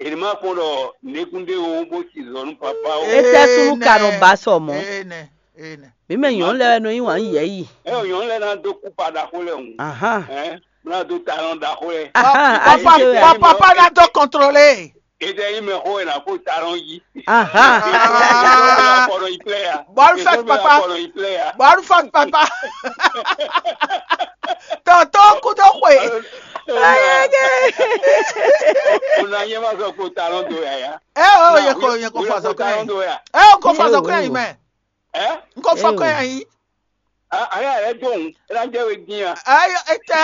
Ènìmá kpɔ́n ɖɔ nɛkúndé o bó ci zɔ nú papá o. É tɛ́ súnnu ka nɔ ba sɔ mɔ̌. Ee nɛ, ee nɛ. Mǐ mɛ nyɔ̌nu lɛ́ɛ wɛ nɔ yí wǎn yɛ̌yi. Ɛ o nyɔ̌nu lɛ́ɛ ná dó kú pa ɖaxó lɛ́ɛ hǔn. Ahán. Ɛ ná dó talɔn ɖaxó lɛ́ɛ. Ahán, Papa, ayi tɛ wɛ. Papa ná dó contrôler. Ete yi mɛ xó ena ko ta ɖɔn yi. Ahán. Afɔ ɖɔ yi plɛ ya. Bɔlu fɛ papa. Afɔ ɖɔ yi plɛ ya. Bɔlu fɛ papa. Tɔntɔn kudo xwe. Ayege. O na nyɛ ma sɔ ko ta ɖɔn do ya ya. Ɛ o ye ko ye ko fɔ sɔ kɛ. Ta ɖɔn do ya. Ɛ o ko fɔ sɔ kɛ yi mɛ. Ɛ? N ko fɔ kɛ yi. Aya ɛ dɔn ɛ na jɛ we din a. Ayo etɛ.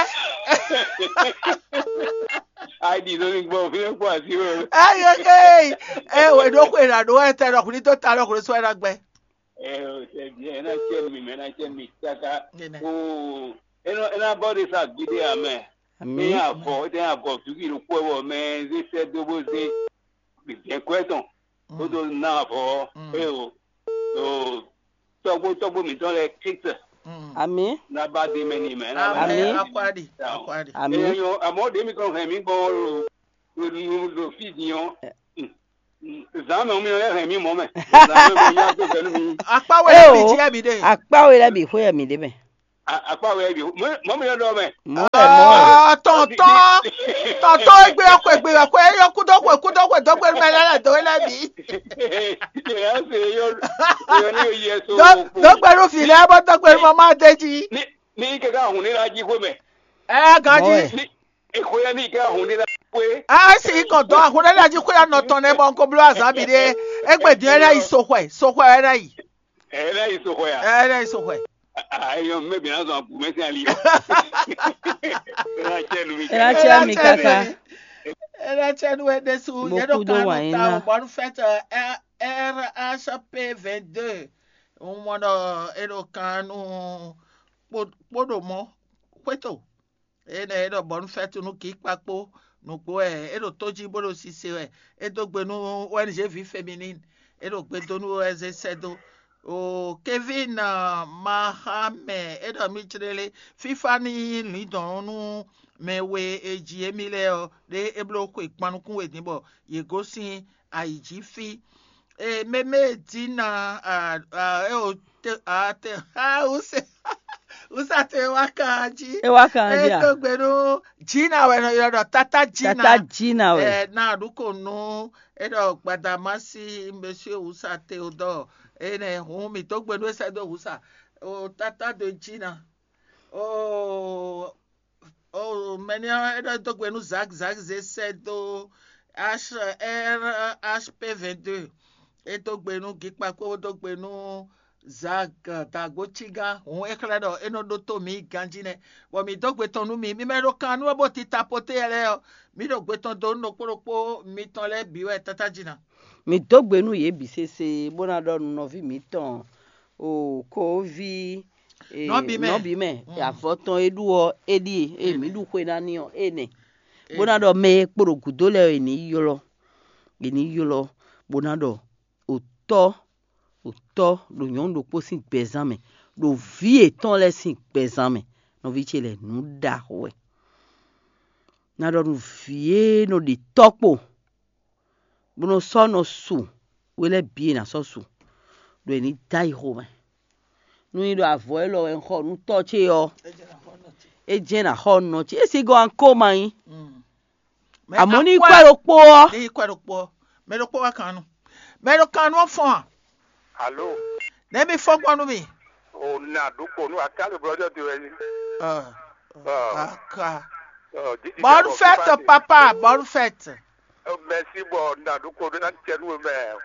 Ayi di lórí gbɔ fi lè kó àti o. Ayo ee ɛ wɛ ɖo xwe na ɖo ɛ tɛ ɖɔ kuli tó ta ɖɔ kuli sɔ ɛ na gbɛ. Ɛ o tɛ bi ɛ na tse mi mɛ na tse mi kaka. O ɛ na ɛ na bɔ de sa gbede amɛ. Ami. Ɛ yà bɔ ɛ yà bɔ tuki ɖo kpɔ bɔ mɛ ze sɛ do bo ze. Gbɛgbɛ tɔn. Ó tó ná avɔ ɔ́, é o, o tɔ́gbó tɔ́gbó mǐtɔn lɛ́ɛ Kristi Amǐ. Ná ba dé mɛ n'i mɛ. Ná Amǐ. Akwáɖi, akwáɖi. Amǐ. Èèyàn àmọ́ ɖé mi kàn hɛn mí gbɔn ɖo ɖo fí din ɔ́. Zǎn mɛ mi lɛ́ hɛn mì mɔ̌ mɛ. Zǎn mɛ mi yá dó gbɛ nú mi. Akpá wɛ lɛ́ɛ bǐ jí wɛ mǐ ɖe. Akpá we lɛ́ɛ bǐ xwé wɛ mǐ ɖe mɛ. Akpá wɛ bǐ mɔ̌ mi lɛ́ ɖɔ mɛ. Mɔ̌ wɛ mɔ̌ wɛ. Tɔntɔn tɔntɔn egbe xwe gbe xwe yɔ kúdó xwe kúdó xwe dó gbenu mɛ lɛ́ɛ lɛ dó we lɛ́ɛ bǐ. Yɛ se yɔ yɔ ní yɛ so. Dó gbenu fi lɛ́ɛ bó dó gbenu mama dé jí. Ní ní kɛká hun ní la jí xwe mɛ. Ɛ ganjí. Ní ìxwé ní kɛká hun ní la xwe. A sì kàn dɔn ahun ɖé lɛ́ɛ jí xwé anɔ tɔn nɛ́ bɔ un ko bló azǎn bǐ ɖé. Égbé din ɛ ná yi soxwɛ, soxwɛ ɛ ná yi. Ɛ ná yi soxwɛ a? Ɛ ná yi soxwɛ. Ayɔ mɛ bi na zɔn abu mɛ sin ali. Ɛ ná cɛ nu mi. Ɛ ná cɛ mi kaka. Ɛ ná cɛ nu ɛ ɖésú. Yɛ ɖo kan nu ta o bɔnu fɛtɛ. R H P vingt-deux. Un mɔ ɖɔ é ɖo kan nu kpó ɖo mɔ xwéto. Énɛ́ é ɖɔ bɔnu fɛ́tú nú Gǐkpakpó nǔgbó wɛ é ɖo tó jí bó ɖo sise wɛ. É dó gbe nú O N G ví Féminine, é ɖo gbe dó nú O S D sɛ́ dó. O Kevin Mahamɛ é ɖɔ mì jlélé fífá ní nyí lǐndɔ̌n nú mɛ we e ji émí lɛ́ɛ ɔ́, ɖé é bló xwe kpan nukún we din bɔ yě gosín ayǐ jí fí. E meme dina a a e o te a te ha use use ate wa kan ji. E wa kan ji a. E to gbe nu jina wɛ nɔ yɔ dɔ tata jina. Tata jina wɛ. Ɛ na ɖu ko nu e dɔ gbadamasi monsieur usa te o dɔ e nɛ hun mi to gbe nu ese do usa o tata do jina o O mɛnɛ ɔ́, é ɖɔ é dó gbe nú Zak, Zak zé sɛ́ dó H R H P vingt-deux. É dó gbe nú Gikpakpó, bó dó gbe nú Zak Dagbo Cígán. Hǔn é xlɛ́ ɖɔ é nɔ ɖótó mǐ ganjí nɛ́, bɔ mǐ dó gbe tɔn nú mi. Mi mɛ e ɖo kan nú wɛ bó tita poté lɛ́ɛ ɔ́, mǐ ɖo gbe tɔn dó nú ɖokpó ɖokpó mitɔn lɛ́ɛ bǐ wɛ tátájínà. Mǐ dó gbe nú yě bǐ sésé, bó ná ɖɔ nú nɔví mǐtɔn o kóví Nɔbí mɛ. Nɔbí mɛ, avɔ tɔn e ɖu ɔ́, é ɖíe, eye mǐ ɖu xwe ná n'i ɔ́, énɛ́. Bó ná ɖɔ mɛ e kpo ɖo gǔdo lɛ́ɛ ɔ́, è nǐ ylɔ́, è nǐ ylɔ́, bó ná ɖɔ òtɔ́, òtɔ́ ɖo nyɔ̌nu ɖokpó sín gbɛzán mɛ, ɖo vǐ yětɔn lɛ́ɛ sín gbɛzán mɛ. Nɔví ce lɛ́ɛ, nǔ ɖaxó wɛ. Ná ɖɔ nú vǐ e nɔ ɖe tɔ́ kpo bó nɔ sɔ́ nɔ su we lɛ́ɛ bǐ e nǎ sɔ́ su, ɖo è ní dó ayi xomɛ. Nú nyí ɖɔ avɔ élɔ́ wɛ un xɔ nú tɔ́ ce ɔ́, é jɛ́n ná xɔ nɔ ce. É si gɔ́ an ko ma nyí. Amɔ̌ ní kwɛ ɖokpó ɔ́. Ní kwɛ ɖokpó ɔ́. Mɛ ɖokpó wá kan nu. Mɛ ɖo kan nu ɔ́ fɔ́n a? Alo. Nɛ̌ mi fɔ́n gbɔn nú mi? O na ɖokpó nú aká lè blɔ́ jɔ do wɛ ní. Aka. Bonne fête, papa, bonne fête. Mɛsi bɔ na ɖokpó ɖó ná cɛ nú mɛ.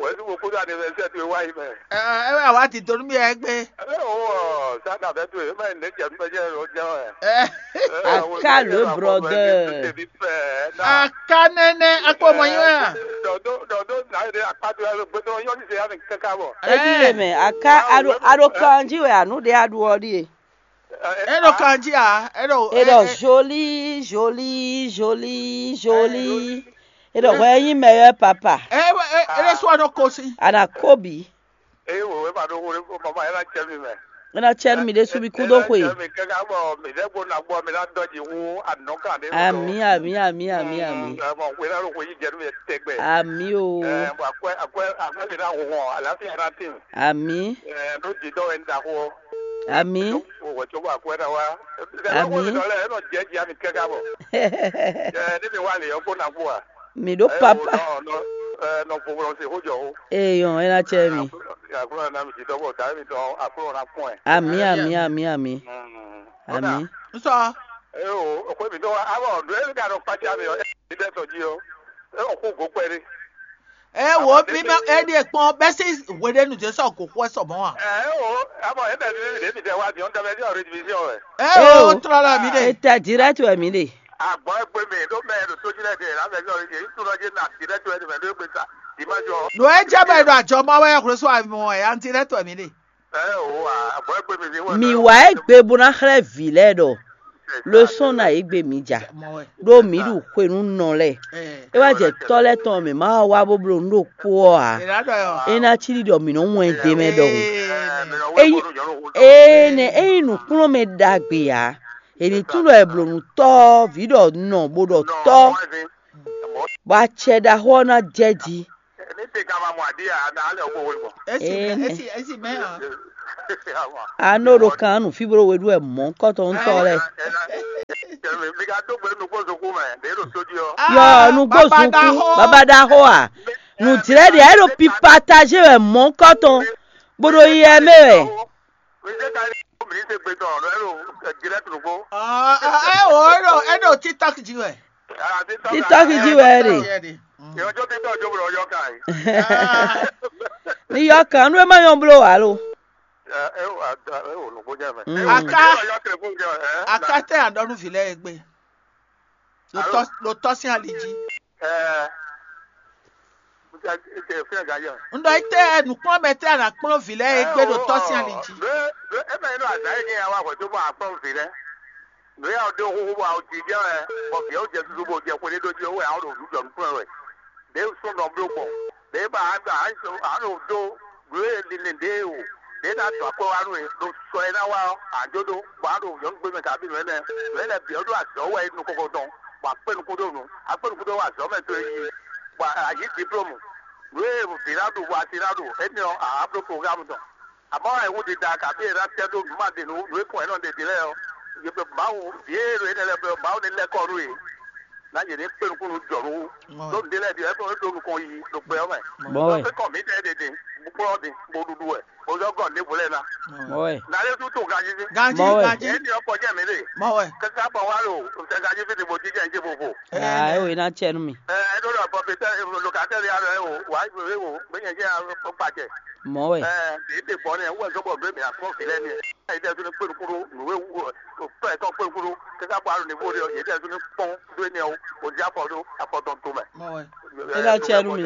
Wɛ̌ nú mo kpódó anivɛsɛ́ towe wá yi mɛ. Ɛ ɛ wá dǐdó nú mì wɛ gbé. Ɛ o sá na bɛ towe mɛ ne cɛ nú mɛ jɛ lɔ jɛ wɛ. Aka le brother. Aka nɛnɛ akpɔ mɔ nyi wɛ a? Dɔdó dɔdó na yi ɖe akpa do yɛ gbɛdɔ yɔ ní se ya mi kaka bɔ. Edi le mɛ aka aɖo aɖo kan jí wɛ anu ɖe aɖu ɔ ɖie. É ɖo kanjí a? É ɖo é ɖɔ jolie jolie jolie jolie. É ɖɔ hwɛ nyí meilleur papa. É é é ɖo sɔ ɖo kosi. Ana kobi. Eye wò wé ma ɖo wò mama yẹn na cɛ mi mɛ. É ná cɛ nú mi ɖésú mi kú dó xwe. Cɛ mi kɛkɛ bɔ mi ɖe gbo na gbɔ mi na dɔ dzi wu anɔ kan ɖe. Ami ami ami ami ami. Ɛmɔ wé na ɖo wò yi jɛ nú mi tɛgbɛ. Ami o. Ɛmɔ akwɛ akwɛ akwɛ mi na hɔn alafi yẹn na tin. Ami. Ɛɛ ɖo dzi dɔ wɛ n da xo. Ami. Wò wɛ tso bɔ akwɛ na wa. Ami. Ɛmɔ wò dɔ lɛ ɛnɔ jɛ dzi ami kɛkɛ bɔ. Ɛɛ ne mi wa le yɔ kó na kú wa. Mi ɖo papa. Nɔ fofo se xó jɔ xó. Eyɔn, é ná cɛ mi. Akplɔ na mi jitɔ bɔ da mi tɔ akplɔ na kún ɛ. Ami ami ami ami. Ami. Nsɔ. Ee o, o xwe mi dɔ wa abɔ do e ka dɔ kpatsa mi ɔ, e mi dɛ sɔ ji o. E o xó go kpɛ de. Ee wo mi mɛ e ɖie kpɔn bɛ si hwe ɖe nu jɛ sɔ go xɔ sɔ mɔ wa. Ee o, abɔ e bɛ mi mi de mi dɛ wa mi ɔn dɛ bɛ di ɔ redivision wɛ. Ee o, trɔ la mi de. Eta direct wɛ mi de. Agbɔn egbe mi ɖo mɛ ɖo to jí lɛ de la mɛ sɔ ye yi tunɔ je na direct wɛ de mɛ ɖo egbe sa dimanche ɔ. Ɖo e jɛ bɛ ɖo ajɔ ma wɛ xwle so amɔ ɛ an direct wɛ mi de. Ɛ o wa agbɔn egbe mi mi wɛ. Mi wa egbe bo na xlɛ vi lɛ ɖɔ. Losɔn na egbe mi ja. Ɖo mi ɖu xwenu nɔ lɛ. E wá jɛ tɔ lɛ tɔn mi ma wá bó bló nu ɖo kpó ɔ a. E na cí ɖiɖɔ mi nɔ wɛn de mɛ ɖɔhun. Eyi ene eyi nukplɔn mɛ ɖagbe a. Eni tún ɖɔ e bló nu tɔ vi ɖɔ nɔ bo ɖɔ tɔ. bɔ acɛ ɖaxó ɔ́ ná jɛ jí. Ní te ka ma mɔ aɖí a, na alɛ owó wé mɔ. Esi Ee, mɛ, ne. Esi esi mɛ hàn. Ama. A nɔ ɖo kan nu fí bó ɖo we ɖú wɛ mɔ̌ kɔtɔn ŋutɔ lɛ. Mi ka dó gbe nukpó zokú mɛ, ɖě ɖo tó jí ɔ́. Yɔ nugbo zunku baba ɖaxó a? Nu jlɛ ɖe e ɖo pipatajé wɛ mɔ̌ kɔtɔn, bó ɖo yi ɛ mɛ wɛ. Mi se ka ní mi se gbe tɔn, lɔ ɛ ɖo direct nukpó. Ɔ ɔ ɛ o ɛ ɖo ɛ ɖo TikTok jí wɛ. Ara ti tɔ TikTok jí wɛ ɖe. Yɛ ɖe. Yɔ jó ti tɔ jó blo yɔ ka yi. Ni yɔ kan nu e ma nyɔ blo wa lo. Ɛ ɛ o a da ɛ o nukpó jɛ mɛ. Mm. Aka. Yɔ telefɔni jɛ ɛ. Aka tɛ aɖɔ nu vi lɛ egbe. Ɖo tɔ ɖo tɔ sín ali jí. Ɛ. Ɛ fɛn ga yɔ. Ŋɖɔ ite nukplɔ́nmɛ tɛ ana kplɔ́n vi lɛ egbe ɖo tɔ sín ali jí. Ɖo ɖo ema yi ɖo azǎ yi ní awa hwɛ̌ tó bɔ akplɔ́n vi lɛ. Nǔ ya ɖó xóxó bɔ awo jijɛ wɛ, bɔ vǐ ɔ́ jɛ susu bó jɛ xwé ɖé ɖó jí wɛ awo ɖo nǔ jɔ nukplɔ́n wɛ. Ɖě sɔ́ nɔ bló gbɔn, ɖě ba a ɖo dó nǔ e linlin ɖě o, ɖě ná dɔn akwɛ́ wá nú e ɖo sɔ e ná wá ɔ́, a jó ɖó, bɔ a ɖo nyɔ̌nu gbe mɛ kabi nǔ énɛ́, nǔ énɛ́ bǐ ɔ́ ɖo azɔ̌ wɛ nukɔn tɔn, bɔ a kpé nukún ɖó nǔ, a kpé nukún ɖó wɛ azɔ̌ mɛ towe yi, bɔ a yǐ diplômu, nǔ e vǐ ná ɖu bɔ asi ná ɖu, énɛ́ ɔ́, a bló programu tɔn. Amɔ̌, ayǐhúndida kabí è ná tɛ́ dó nǔ ma ɖe nǔ nǔ e kɔn ɛ nɔ ɖe din lɛ́ɛ ɔ́, Mawu vǐ e ɖo énɛ́ lɛ́ɛ bɔ Mawu ní lɛ́ kɔ nú yě, ná yě ní kpé nukún nú jɔ̌ nú wú. Ɖó nǔɖé lɛ́ɛ ɖi wɛ é ɖó nukɔn yiyi ɖo gbɛ ɔ́ mɛ. Mɔ̌ wɛ. Ɖó kɔ mǐ ɖɛɛ ɖe din, bó kplɔ́n din, bó ɖuɖu wɛ, bó zɔ́ gɔn ɖěvo lɛ́ɛ ná. Mɔ̌ wɛ. Ná lé sú to ganjí sí. Ganjí, Mɔ̌ wɛ. Ganjí. Yě ní ɔ́ kɔ jẹ́ mǐ ɖe. Mɔ̌ wɛ. Káká gbɔn wá ɖo sɛ ganjí fí din bó jínjɛ́n jí vovo. Aa, é wò é ná cɛ nú mi. Ɛ ɛ ɖó ɖɔ pɔpitɛ lokatɛ́ ya ɖɔ ɛ wò wá é wò gbé nyɛ jẹ́ kpacɛ. Mɔ̌ wɛ. Ɛ ɛ ɖě ɖe gbɔn nɛ wú ɛ zɔ́ bɔ ɖó mǐ akpɔ́n vǐ lɛ́ɛ nɛ́. Yětɛ́sú ní kpé nukúnú nǔ e wú ɔ tɔ́ yětɔn kpé nukúnú káká kpó aɖo nǐvo ɖé ɔ́, yětɛ́sú ní kpɔ́n dó énɛ́ ɔ́, bó dó afɔ ɖó afɔ tɔn tomɛ. Mɔ wɛ. É ná cɛ nú mi.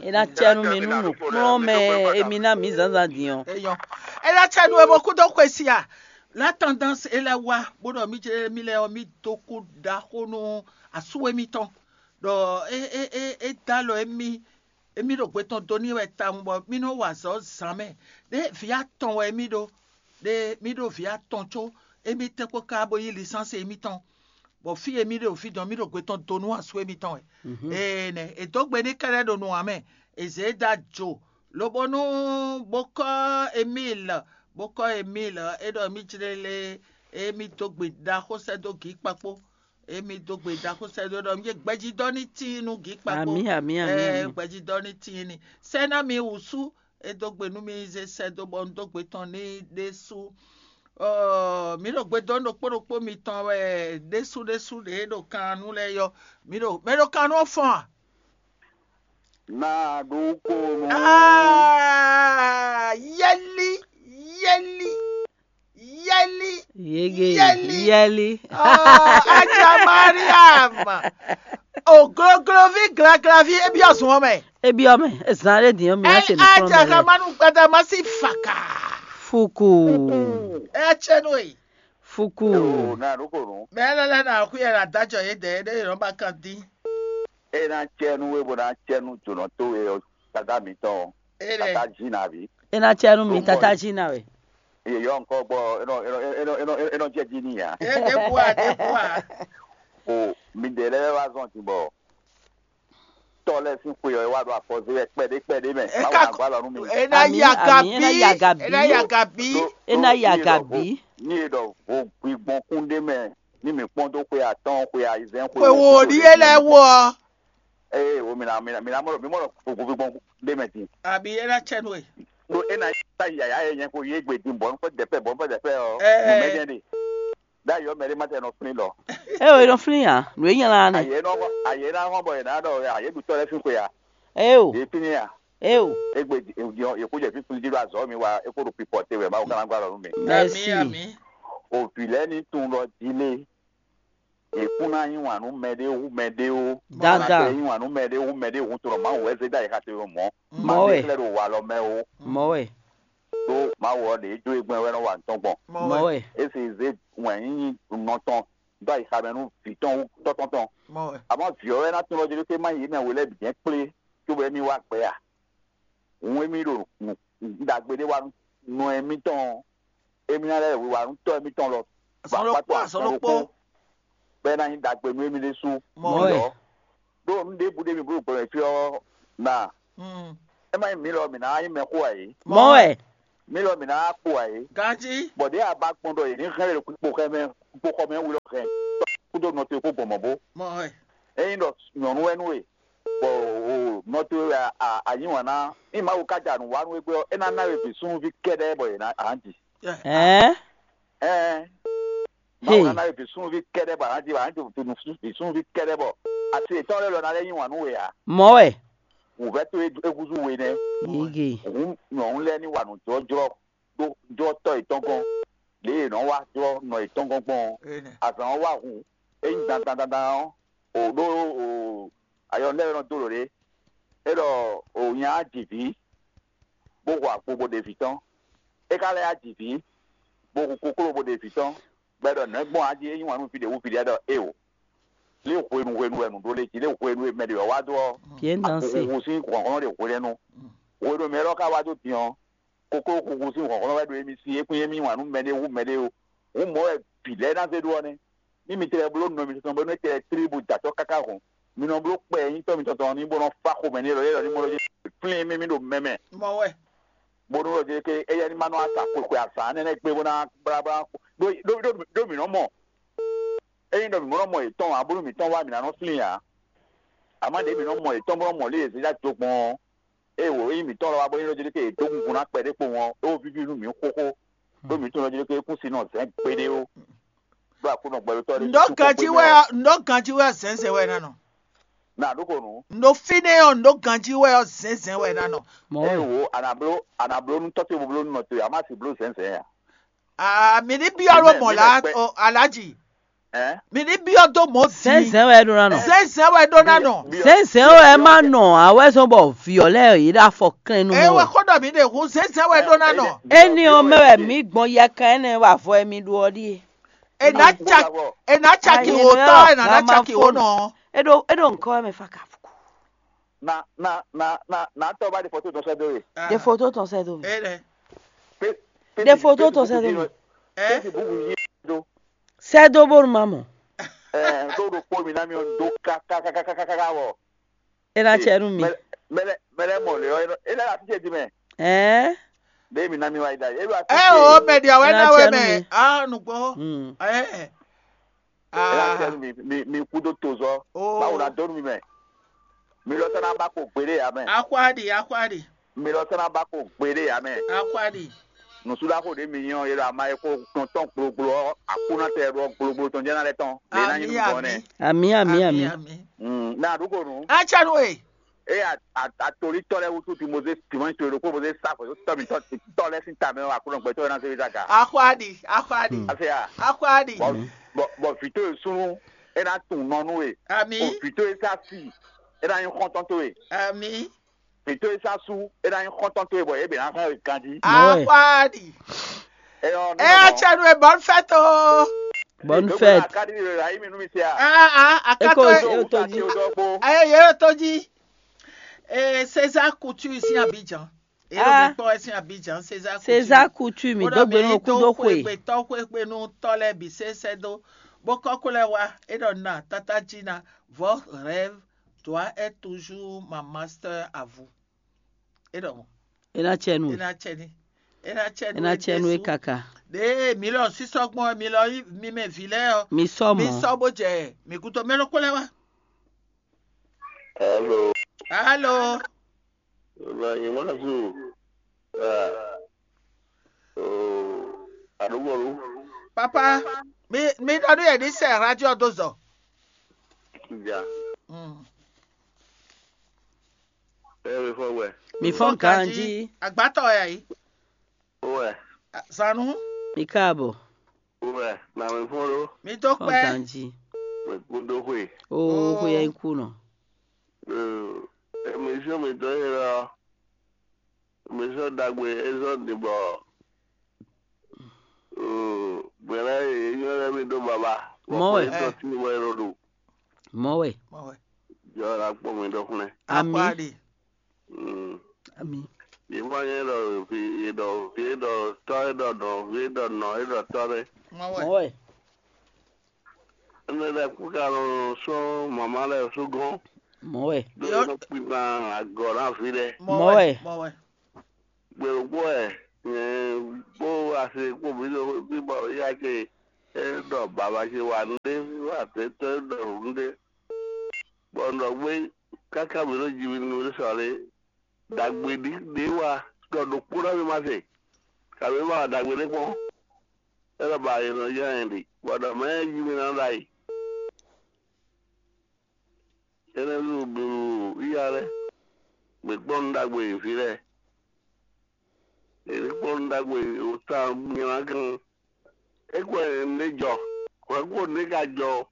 É ná cɛ nú mi nú nǔkplɔ́nmɛ émi ná mǐ zǎnzǎn din ɔ́. Eyɔn. É ná cɛ nú we bó kú dó xwe sí a. La tendance é lɛ́ wá bó ɖɔ mí jɛ mí lɛ́ɛ ɔ́, mí dó kú ɖaxó nú asú émítɔn. Ɖɔ é é é é dó alɔ émí émí ɖo gbe tɔn dó n'i wɛ tawun bɔ mí nɔ́ wa azɔ̌ zǎn mɛ. Ɖé vǐ atɔn wɛ émí ɖó, ɖé mí ɖó vǐ atɔn có émí tɛ́nkpɔ́n ká bó yí lisánsɛ émítɔn, bɔ fí e mí ɖo fí dɔn mí ɖo gbe tɔn dó nú asú émítɔn wɛ. Ee nɛ è dó gbe n'i kɛ́ɖɛ́ ɖo nu ǎ mɛ, è zě e dó ajo, lobo nú bó kɔ́ Emíl, bó kɔ́ Emíl é ɖɔ mí jlé lé émí dó gbe ɖaxó sɛ́ dó gǐ kpakpó. Emi dó gbe ɖaxó sɛ́ dó ɖɔ mí gbɛjidɔ ní tíin nú gǐ kpakpó. Amǐ, amǐ, amǐ, Ɛ, amǐ. Gbɛjidɔ ní tíin ní. Sɛ́ ná mi wǔsú, é dó gbe nú mi zé sɛ́ dó bɔ un dó gbe tɔn ní ɖésú. Ɔ, mǐ ɖo gbe dó ɖokpó ɖokpó mitɔn wɛ ɖésú ɖésú ɖě ɖo kan nú lɛ́ɛ yɔ. Mǐ ɖo mɛ ɖo kan nú ɔ́ fɔ́n a? Ná ɖó kó nú. Ah, yɛlí, yɛlí, yɛlí, Yege, yɛlí. Yɛlí. Oh, Aja Mariam. O gloglovi glaglavi e byɔ́ zun ɔ́ mɛ. E byɔ́ mɛ, e zan ɖé din ɔ́, mi ná se nǔkplɔ́nmɛ lɛ́ɛ. Aja Kamanu Gbadama sí faka. Fuku. Ɛ tsɛ nú e. Fuku. Ná ɖó kó nú. Bɛɛ lɛ́ lɛ́ ná xwí ɛ ná dájɔ yě dɛ, é ɖé yě nɔ ba kan dín. É ná cɛ nú we bó ná cɛ nú jǒnɔ towe ɔ́, tata mǐtɔn ɔ́, Éɖɛ. Tata Zina ví. É ná cɛ nú mi, Tata Zina wɛ. Yeyɔ ŋkɔ gbɔ, é nɔ é nɔ é nɔ é nɔ é nɔ jɛ jí n'i ǎ. Ɛ ɖěbǔ a ɖěbǔ a. O mi ɖe lɛ́ɛ wá zɔn din bɔ tɔ lɛ́ɛ sín xwe ɔ́, é wá ɖo afɔ zé wɛ kpɛɖé kpɛɖé mɛ. Má wá gbá lɔ nú mi. É ná yi Amǐ, agabi. Amǐ, é ná yi agabi. É ná yi agabi. Ní e ɖɔ vo gbigbɔn kún ɖé mɛ, ní mi kpɔ́n dó xwe atɔ́ɔ́n, xwe ayizɛ́n, xwe Xwe wo ɖíe lɛ́ɛ wo ɔ́. Ee, wo mi na mi na mi na mɔ mi mɔ gogovi gbɔn ɖe mɛ din. Abi é ná tsɛ nú e. Ɖo é na ta yaya yɛ nyɛ ko yé gbe din bɔ nukpɛ dɛpɛ bɔ nukpɛ dɛpɛ ɔ. Ɛɛ. Numɛ jɛ de. Da yɔ mɛ ɖe ma tɛ nɔ flin lɔ. E o e nɔ flin ya nu e nyala ne. Ayɛ nɔ ayɛ na hɔn bɔ yɛ na ɖɔ ayɛ ɖu tɔ lɛ fi ko ya. E o. Yé flin ya. E o. Egbe yɛ kó jɛ fi flin di ɖo azɔ mi wa e kó ɖo pipɔ te wɛ ma wo kana gba lɔ nu mi. Merci. Ami ami. O vi lɛ ni tun lɔ di le. È kún ná yí wǎn nú mɛɖé hú mɛɖé ó. Dandan. Yí wǎn nú mɛɖé hú mɛɖé hú tlɔ Mawu wɛ zé dó ayixa te mɔ̌. Mɔ̌ wɛ. Mawu xlɛ́ ɖo walɔ mɛ ó. Mɔ̌ wɛ. Ɖó Mawu ɔ́ ɖě jó e gbɛn wɛ nɔ wa nǔ tɔn gbɔn. Mɔ̌ wɛ. É se zé wǎn yíyí nɔ tɔn dó ayixa mɛ nú vǐ tɔn hú tɔ́tɔ́ tɔn. Mɔ̌ wɛ. Àmọ́ vǐ ɔ́ wɛ ná tunwun ɖɔ jí ɖó má yě mɛ we lɛ́ɛ bǐ jɛ́n kplé cóbɔ émí wá gbɛ a? Hǔn émí ɖo nǔ ɖagbe ɖé wa nú nɔ émítɔn ɔ́, émí ná lɛ́ wiwa nú tɔ́ émítɔn lɔ. Azɔn ɖokpó, azɔn ɖokpó. Bɔ é ná nyí ɖagbe nú émí ɖésú. Mɔ̌ wɛ. ɖó nǔ ɖěbǔ ɖé mi bló gbɔn mɛ fí ɔ́ na. Mm. É má nyí mǐ lɔ mǐ ná nyí mɛxó ǎ é. Mɔ̌ wɛ. Mǐ lɔ mǐ ná kpo ǎ é. Ganjí. Bɔ ɖěe a ba gbɔn ɖɔ yě ní hɛn lě kpo xɔ mɛ kpo xɔ mɛ wlɔ hɛn kúdó nɔ towe kpó gbɔn mɔ̌ bó. Mɔ ɛ. Ényí ɖɔ nyɔ̌nu wɛ nú we, bɔ o nɔ towe wɛ a a yí wǎn ná, ní Mawu ka ja nǔ wa nú we gbé ɔ́, é ná ná we vǐ súnnuví kɛ́ɖɛ́ bɔ yě ná a nǎ ji. Ɛɛ. Ɛɛ. Ɛɛ. Mawu ná ná we vǐ súnnuví kɛ́ɖɛ́ bɔ a nǎ ji, a nǎ ji vǐ súnnuví kɛ́ɖɛ́ bɔ asi yětɔn lɛ́ɛ lɔ ná lɛ́ yí wǎn nú we ǎ. Mɔ̌ wɛ. Wǔvɛ́ towe é húzú we nɛ́. Yíge. Hǔn nyɔ̌nu lɛ́ɛ ní wa nǔjlɔ́jlɔ́ ɖó jlɔ́ tɔ́ yětɔn gɔ́n, lě e è nɔ́ wá jlɔ́ nɔ yětɔn gɔ́n gbɔn ɔ́, azǎn ɔ́ wá hun. É nyí dandan dandan ɔ́, o ɖó o ayɔnu lɛ́ɛ nɔ dó lǒ ɖé. É ɖɔ o nya ji vǐ, bó hu agbo bó ɖe vǐ tɔn. É ka lɛ́ yá ji vǐ, bó hu kokló bó ɖe vǐ tɔn, bɔ é ɖɔ nɛ̌ gbɔn a jí é yí wǎn nú vǐ ɖě wú vǐ lɛ́ɛ ɖɔ éeǒ. Lě hwenu hwenu wɛ nǔ ɖó lě jí, lě hwenu e mɛ ɖě wɛ wá dó ɔ́, Bien dansé. Huhu sín hlɔ̌nhlɔ́n ɖě hwenu. Hwenu e mɛ élɔ́ ka wá dó din ɔ́, kokló huhu sín hlɔ̌nhlɔ́n wɛ ɖo émí sí, é kún émí wǎn nú mɛɖé hú mɛɖé ó. Hǔn mɔ̌ wɛ bǐ lɛ́ɛ ná zé ɖó ɔ́ nɛ́. Ní mi tlɛ bló nɔ mitɔn bónú é tlɛ tlí bó jɛ acɔ́ káká hɔn, mi nɔ bló kpɛ nyítɔ́ mitɔn tɔn ní bó nɔ fá xomɛ n'i lɔ yě lɔ ní mɔ lɔ flín émí mì ɖo mɛ mɛ. Mɔ wɛ. Bónú lɔ jɛ ké éyɛ́ ní ma nɔ asa xwexwe azǎn nɛnɛ gbé bó ná blá blá ɖó ɖó ɖó ɖó mǐ nɔ mɔ. Ényí ɖɔ mǐ mɔ nɔ mɔ yětɔn ǎ, bónú mǐtɔn wá mǐ ná nɔ flín ǎ. Àmọ́ ɖě mǐ nɔ mɔ yětɔn bó nɔ mɔ lě e zǐ dó gbɔn ɔ́, ée wǒ nyí mǐtɔn lɔ wá bó nyí ɖɔ jɛ ké è dó gungun ná kpɛɖé kpowun ɔ́, é wó víví nú mǐ xóxó, ɖó mǐ tunwun ɖɔ jɛ ké é kún sin nɔ zɛ̌n gbeɖé ó. Ɖó Aklúnɔ gbɛɖótɔ́ ɖé. Ndo ganji wɛ ɔ ndo ganji wɛ ɔ zɛnzɛn wɛ na nɔ. Na ɖó ko nǔ. Ndo fínɛ́ ɔ ndo ganji wɛ ɔ zɛnzɛn wɛ na nɔ. Mɔ eye wɛ. Wo anabló anabló nú tɔ́ ce bo bló nú nɔ towe, a má sì bló zɛnzɛn a. Aa mi ní byɔ́ ɖó mɔ̌ lá alaji. Ɛ. Mi ní byɔ́ dó mɔ̌ zɛnzɛn wɛ ɖó ná nɔ. Zɛnzɛn wɛ ɖó ná nɔ. Zɛnzɛn wɛ má nɔ awɛzɔn bɔ vǐ ɔ́ lɛ́ɛ yě ɖo afɔ klɛ́n nú mɛ wɛ. Ewé xó ɖɔ mi ɖe hu zɛnzɛn wɛ ɖó ná nɔ. Éni ɔ́ mɛ wɛ mǐ gbɔn yɛkan énɛ́ wɛ avɔ e mi ɖu ɔ́ ɖíe. È nǎ ca è nǎ ca kì wò tɔ́ è nǎ ná ca kì wò nɔ. É ɖo é ɖo nǔkɔ wɛ mɛ fa ka fuku. Na na na na na tɔ ba de foto tɔn sɛ do ye. De foto tɔn sɛ do mi. Ɛ lɛ. De foto tɔn sɛ do mi. Ɛ. Pesi bubu yi do. Sɛ do bonu ma mɔ. Ɛ do do kpo mi na mi o do ka ka ka ka ka ka wɔ. E na cɛ nu mi. Mɛlɛ mɛlɛ mɔ le yɔ e lɛ la ti ce di mɛ. Ɛɛ. De mi na mi wa yi da yi. E lɔ ati ce. Ɛ o mɛ di awɛ na wɛ mɛ. Ah nugbo. Ɛɛ. Ela sɛ mi mi mi kudo tozɔ. Oh. Bawo na donu mi mɛ. Mi lɔ sɛ na ba ko gbede ya mɛ. Akwadi akwadi. Mi lɔ sɛ na ba ko gbede ya mɛ. Akwadi. Nusula ko de mi nyɔ yɛlɛ ama ye ko tɔntɔn gblogblɔ akuna tɛ ɖɔ gblogblɔ tɔn jɛna lɛ tɔn. Ami ami. Ami ami ami. Na du ko nu. Atsanu e. Eye atolítɔ́ lɛ́ɛ wútu Timozé Simɔ́ɔ to e ɖokpó Mozé sá xwě dó tɔ́ mǐtɔn tɔ́ lɛ́ɛ sín ta mɛ ɔ́, Aklúnɔ gbɛtɔ́ ɔ́ ná zé we zá ga. Axwáɖi, axwáɖi, Afia, axwáɖi. Bɔ bɔ vǐ towe súnnu é ná tunwun nɔ nú we. Ami. O vǐ towe sá si é ná nyí xɔ́ntɔn towe. Ami. Vǐ towe sá sú é ná nyí xɔ́ntɔn towe bɔ yě bǐ ná hɛn we ganjí. Axwáɖi. Ɛ ɔ́, ɛ ɔ́, cɛ nu e bonne fête o. Bonne fête. Akadi le la yi mi nu mi se a. Ah ah, akato e. Eko to ji. Aye ye to ji. Eh, César Couture ici à Abidjan. Et ah. Le micro ici à Abidjan, César Couture. César Couture, mi do gbe no ku do kwe. Gbe to kwe gbe no to le bi se se do. Boko kule wa, et on a tata Gina, votre rêve doit être toujours ma master à vous. Et donc. E na cɛ nu. E na cɛ ni. E na cɛ nu. E na cɛ nu e kaka. De mi lɔ sisɔ gbɔn mi lɔ mi mɛ vi lɛ ɔ. Mi sɔ mɔ. Mi sɔ bo jɛ mi kuto mɛ lɔ kule wa. Hello. Hello. Ibrahim Mazu. Ah. Oh. Adugbolu. Papa, mi mi dɔdu yɛ di sɛ radio do zɔ. Ja. Mm. Ẹ mi fọ wẹ. Mi fọn ganji. Agbatɔ ya yi. Wẹ. Sanu. Mi káàbọ̀. Wɛ, na mi fún ɖó. Mi tó pẹ́. Ganji. Wɛ kúndó xwe. Oo xwe yɛ kú nɔ. Émission mi tɔn yé lɔ. Émission dagbe ezɔ ni bɔ. Gbɛlɛ yé nyɔ lɛ mi ɖó baba. Mɔ wɛ. Ezɔ ti wɛ lɔ ɖo. Mɔ wɛ. Jɔ la kpɔ mi ɖɔ xlɛ. Ami. Ami. Yě mɔ nyɛ ɖɔ vi yě ɖɔ vi yě ɖɔ tɔ́ yě ɖɔ nɔ vi yě ɖɔ nɔ yě ɖɔ tɔ́ ɖé. Mɔ wɛ. Mɔ wɛ. Énɛ́ lɛ́ɛ kú ka nɔ sɔ́ mama lɛ́ɛ sú gɔ́n. Mɔ̌ wɛ. Ɖó é nɔ kpín agɔ̌ ná vǐ lɛ́ɛ. Mɔ̌ wɛ. Mɔ̌ wɛ. Gběɖokpó wɛ nyɛ kpó ase kpó mǐ ɖo fí bɔ éyá ce é ɖɔ baba ce wa nǔɖé, wá tɛ́tɔ́ é ɖɔ nǔɖé. Bɔ un ɖɔ gbé káká mǐ ɖo ji mì nú sɔ lé. Ɖagbe ɖi ɖě wa ɖɔ ɖokpó ná mì ma se. Kabǐ ma wa ɖagbe ɖé kpɔ́n. É ɖɔ ba è nɔ yá nyɛ ɖi, bɔ ɖɔ mɛ é ji mì ná ɖ'ayǐ. Énɛ́ ɖu ɖu iya lɛ́ɛ, mǐ kpɔ́n nǔ ɖagbe e vǐ lɛ́ɛ. È ní kpɔ́n nǔ ɖagbe e wǒ ta nylá gan. É kɔ nǔɖé jɔ, hwɛ̌ kpo nǔɖé ka jɔ ɔ́,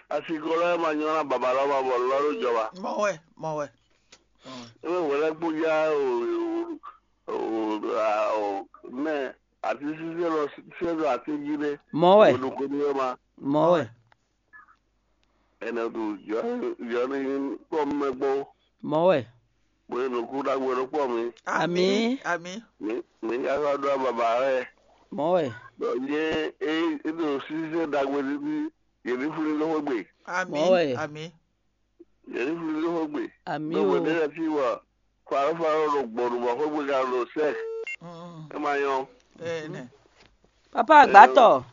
asi ko lɛ́ɛ ma nylá baba lɔ ma bɔ lɔ ɖó jɔ ba. Mɔ̌ wɛ, mɔ̌ wɛ. É mɛ hwɛ̌ lɛ́ɛ kpó já o o o mɛ atínsínsɛ́n lɔ sɛ́ ɖo atín jí ɖé. Mɔ̌ wɛ. Ɖo kó ní wɛ ma. Mɔ̌ wɛ. Ɛnɛ ɖu yɔ yɔ ní kpɔ mɛ gbɔ Mɔ̌ wɛ. bó yɛ nukú ɖagbe ɖó kpɔ mi. Amǐ. Amǐ. Mi mi ka sɔ ɖó ababa rɛ. Mɔ̌ wɛ. Bɔ yé é é ɖo sísɛ ɖagbe ɖíɖí yě ní fún ní lóxó gbe. Amǐ. Mɔ̌ wɛ. Amǐ. Yě ní fún ní lóxó gbe. Amǐ Ɖó o. gbe ɖé lɛ fí wɔ faró faró ɖo gbɔɖu bɔ xó gbe ka ɖo sɛ. Mm, É ma nyɔ. Ene. Papa agbatɔ.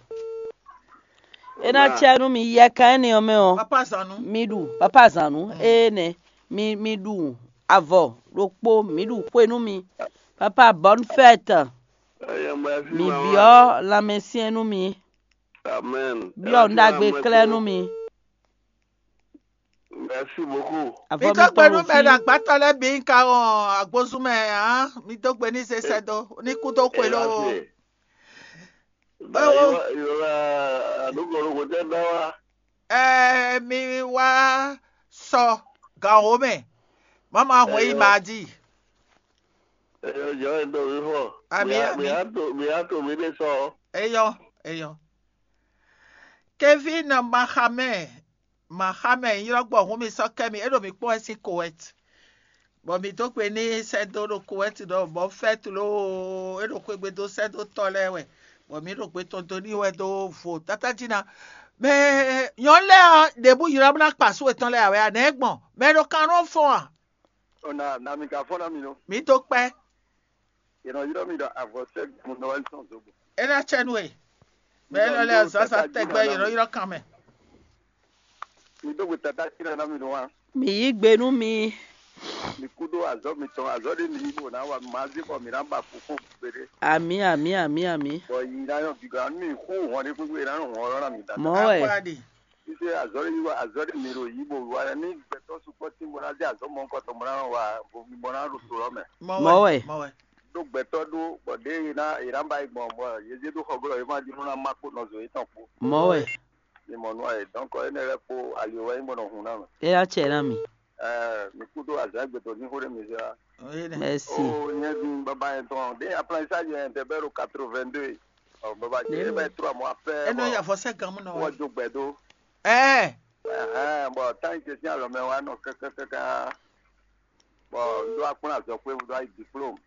E na tsɛ nú mi yɛ kan énɛ́ ɔ́ mɛ ɔ́. Papa Zanu. Mi ɖu papa zanu énɛ́. Mi mi ɖu avɔ ɖokpó mi ɖu xwe nú mi. Papa bonne fête. Ɛyɛ mɛ fi Mi ma byɔ́ lanmɛsyɛn nú mi. Amen. Byɔ́ nǔ ɖagbe klɛ́ nú mi. Merci beaucoup. Avɔ Mi mi dó gbe tɔn nú ɖo mɛ ɖo fí. Agbátɔ lɛ́ɛ bǐ ka ɔn agbózún mɛ hǎn. Mi dó gbe ní zesɛ dó ní kú dó xwe ló. Ìrora ìrora àdúgbò ló kò tẹ́ dá wa. Ɛ mi wá sɔ gǎnwó mɛ. Mama hɔn yi Eyɔ. Madi. Ẹyọ jọ ẹ dọ mi fọ. Àmì, Mi á- àmì. Mi á tó mi á tó mi dé sọ. Eyɔ, eyɔ. Kevin Mahamɛ, Mahamɛ ylɔ́ gbɔ hun mi sɔ́ kɛ mi, é ɖo mi kpɔ́n wɛ sín Kuwait. Bɔ mi dó gbe ní sɛ́ dó ɖo Kuwait ɖɔ bɔ fɛ́t loo, é ɖo xwegbe dó sɛ́ dó tɔ́ lɛ́ɛ wɛ. Bɔ mi ɖo gbe tɔn dó ní wɛ dó vo tátájí ná. Mɛ nyɔ̌nu lɛ́ɛ ɔ́, ɖěbǔ ylɔ́ ná kpa sú etɔn lɛ́ɛ ǎ wɛ ǎ, nɛ̌ gbɔn? Mɛ ɖo kan nɔ fɔn a? Ona na mi ka fɔ́n ná mi nɔ. Mi dó kpɛ́. Yě nɔ ylɔ́ mi ɖɔ avɔsɛ́ gbɔn nɔ wá tɔn zobo. É ná cɛ nú we. Mɛ élɔ́ lɛ́ɛ azǎn sa tɛgbɛ yě nɔ ylɔ́ kan mɛ. Mi dó gbe tata tí ná mi nɔ wá. Mi yí gbe nú mi. Mi kú ɖó azɔ̌ mitɔn, azɔ̌ ɖé mi yí bò ná wa mazí bɔ mi ná ba kú fún gbeɖé. Àmì àmì àmì àmì. Bɔ yi ná yɔ gíga nú mi kú hɔn ɖé gbégbé ná hɔn ɔlọ́ ná mi dada. Mɔ̌ wɛ. Akwáɖi. Títí azɔ̌ ɖé yí wa azɔ̌ ɖé mi ɖo yí bò wa ní gbɛtɔ́ sukpɔ́ tí mo ná dé azɔ̌ mɔ̌hunkɔtɔn mo ná wa bo mi bɔ ná ɖo to lɔ mɛ. Mɔ̌ Mɔ̌ wɛ. wɛ. Mɔ̌ wɛ. Ɖó gbɛtɔ́ ɖó bɔ ɖě yě ná yě ná ba yi gbɔn bɔ yě zé ɖó xɔ glɔ́ yě má ɖi nú ná má kpó nɔzo yětɔn kpó. Mɔ̌ wɛ. Mi mɔ nú ayé dɔn kɔ énɛ́ lɛ́ kpó ali wɛ nyí bɔ nɔ hun ná mɛ. É yá cɛ ná mi. Ɛɛ mi kú ɖó azɔ̌ gbɛtɔ́ ní xó ɖé mi zé wa. Oyé nɛ. Mɛsi. O nyɛ ɖu baba yẹn tɔn ɖé aplansa yẹn tɛ bɛ ɖo quatre-vingt-deux. Ɔ baba jẹ ẹ bɛ trɔ mɔ afɛ Eno ya vɔsɛ gan mu nɔ wɔ wa. Do gbɛ do. Ɛɛ. Ɛhɛn bɔn tan yi tɛ sin alɔ mɛ wa nɔ kɛkɛkɛkɛ. Bɔn n ɖó akplɔn azɔ kpé n ɖó ayi diplôme.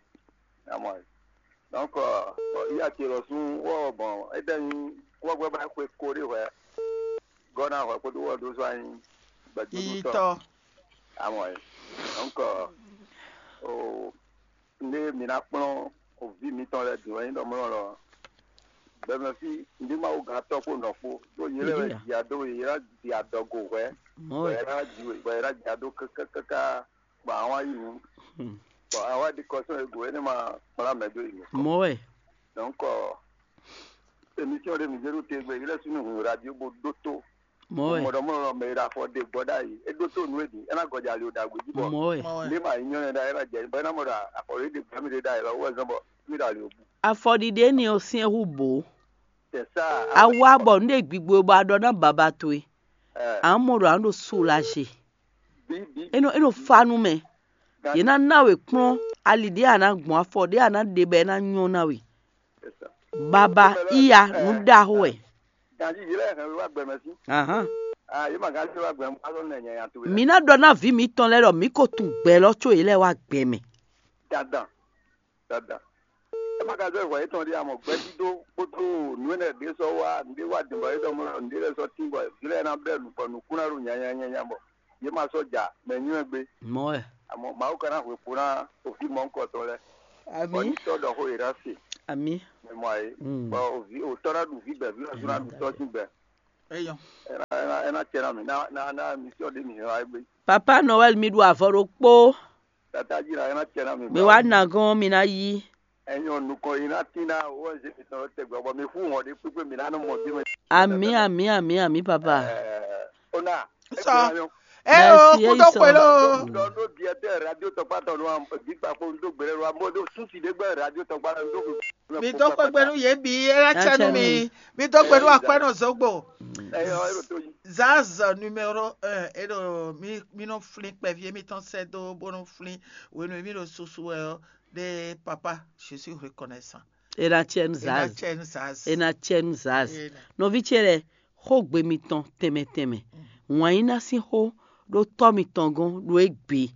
Amɔ donc bɔn iya ce lɔ sún wɔ bɔn é ɖɛ nyi kɔgbɛ ba xwe ko ɖé hwɛ. Gɔna hwɛ kpódó wɔ ɖó sɔ anyi gbɛdúdú tɔ. Yiyitɔ. Amɔ donc o ne mi ná kplɔn o vi mitɔn lɛ dùn wɛ nyí ɖɔ mlɔ lɔ. Gbɛmɛ fi ndi ma wo gán tɔ kpó nɔ kpó. Ɖó yé lɛ wɛ dia do yé la dia dɔgo hwɛ. Mɔ̌ Bɔ wɛ. yé la di bɔ yé la dia do kɛkɛkɛkɛ. Bɔ àwọn yìí nù. Hmm. Bɔ àwọn di kɔsɔn ego yé ne ma kpla mɛ do yìí nù. Mɔ̌ wɛ. Donc émission de mi zéro te gbé yé lɛ sunu hun radio bo do to. Mɔ̌ wɛ. Mɔdɔ mɔdɔ mɛ yé la fɔ de gbɔ da yi. E do to nu e di. E na gɔdza li o da gbe ji bɔ. Mɔ̌ wɛ. Mɔ̌ wɛ. Ne ma yi nyɔ ne da yé la jɛ. Bɔ e na mɔdɔ akɔli de gbami de da yi la wo zɔn bɔ mi da li o bu. Afɔɖiɖe ni ɔ́ syɛ́n hú bǒ. C'est ça. Awa bɔ nu ɖe gbigbo bɔ aɖɔ ná baba towe. Eh, Amɔ ɖo aɖo soulager. Bi bi. Eno eno fa nu mɛ. Yě ná ná we kplɔ́n ali ɖé a ná gbɔn afɔ ɖé a ná ɖe bɔ é ná nyɔ́ ná we. C'est ça. Baba iya nu ɖaxó wɛ. Ganji yi lɛ hɛn wa gbɛmɛ si. Ahan. Ah, yi ma ganji wa gbɛmɛ pa lɔ nɛ nya ya tu. Mi ná ɖɔ ná vǐ mitɔn lɛ́ɛ ɖɔ mǐ ko tunwun gbɛ lɔ có yě lɛ wá gbɛ mɛ. Dandan. Dandan. E ma ka zɔ hwɛ etɔn ɖi amɔ gbɛdídó kpótó nú enɛ ɖé sɔ wá nɖé wá dǐn bɔ é ɖɔ mɔ nɖé lɛ sɔ tín bɔ vǐ lɛ ná bɛ́ nǔ bɔ nǔkún ná ɖo nyanyanyanya bɔ Yě ma sɔ́ ja mɛ nywɛ́ gbé. Mɔ̌ wɛ. Àmọ́ Mawu ka ná hwe kpo ná òfin mɔ̌hunkɔtɔn lɛ́ɛ. Bɔ Amǐ. Ní tɔ́ ɖɔ xó yě ná se. Amǐ. Mɛ mɔ ayé. Mm. Bɔ òvi òtɔ́ ná ɖu vǐ gbɛ, vǐ lɔ sún ná ɖu tɔ́ sín gbɛ. Eyɔn. Ɛ ná ɛ ná ɛ ná cɛ ná mi ná ná ná mi sɔ́ ɖé mi hɛn wá gbé. Papa Noël, mi ɖu avɔ ɖokpó. Tata jí la ɛ ná cɛ ná mi. Mi wá nagɔn mi ná yí. Ẹ̀yin ò nukɔn yi ná tín ná owó ẹ̀jẹ̀ mi tán tẹ gbọ́ bọ́ mi fún wọn dé pípé mi ná nú mọ bí mi. Amǐ, amǐ, amǐ, amǐ, papa. Ó ná. Sọ. Ẹ o Merci, kúndó Eyín sọ. Pẹ̀lú. Lọ ló di ẹtẹ radio tọgbà tọ nù bí gbà kó ń dó gbẹrẹ lọ àmọ́ ló sùn sí dégbà radio tọgbà lọ ń dó. Mi dó kpɛkpɛ nú yě bǐ, é ná cɛ nú mi. Mi dó gbe nú akwɛ́nɔ Zogbo. Ẹyọ ẹ ló tó yí. Zaz numéro un, é ɖo mi mi nɔ flin kpɛví émítɔn sɛ́ dó bó nɔ flin hwenu e mí ɖo susu wɛ ɔ́ ɖe papa, je suis reconnaissant. Ena tiɛnu Ena zaz. Tiɛnu zaz. Ena tiɛnu zaz. Ena. Nɔví ce lɛ, xógbe mitɔn tɛnmɛ tɛnmɛ. Wǎn yí ná sín xó ɖó tɔ́ mitɔn gɔ́n ɖó égbé.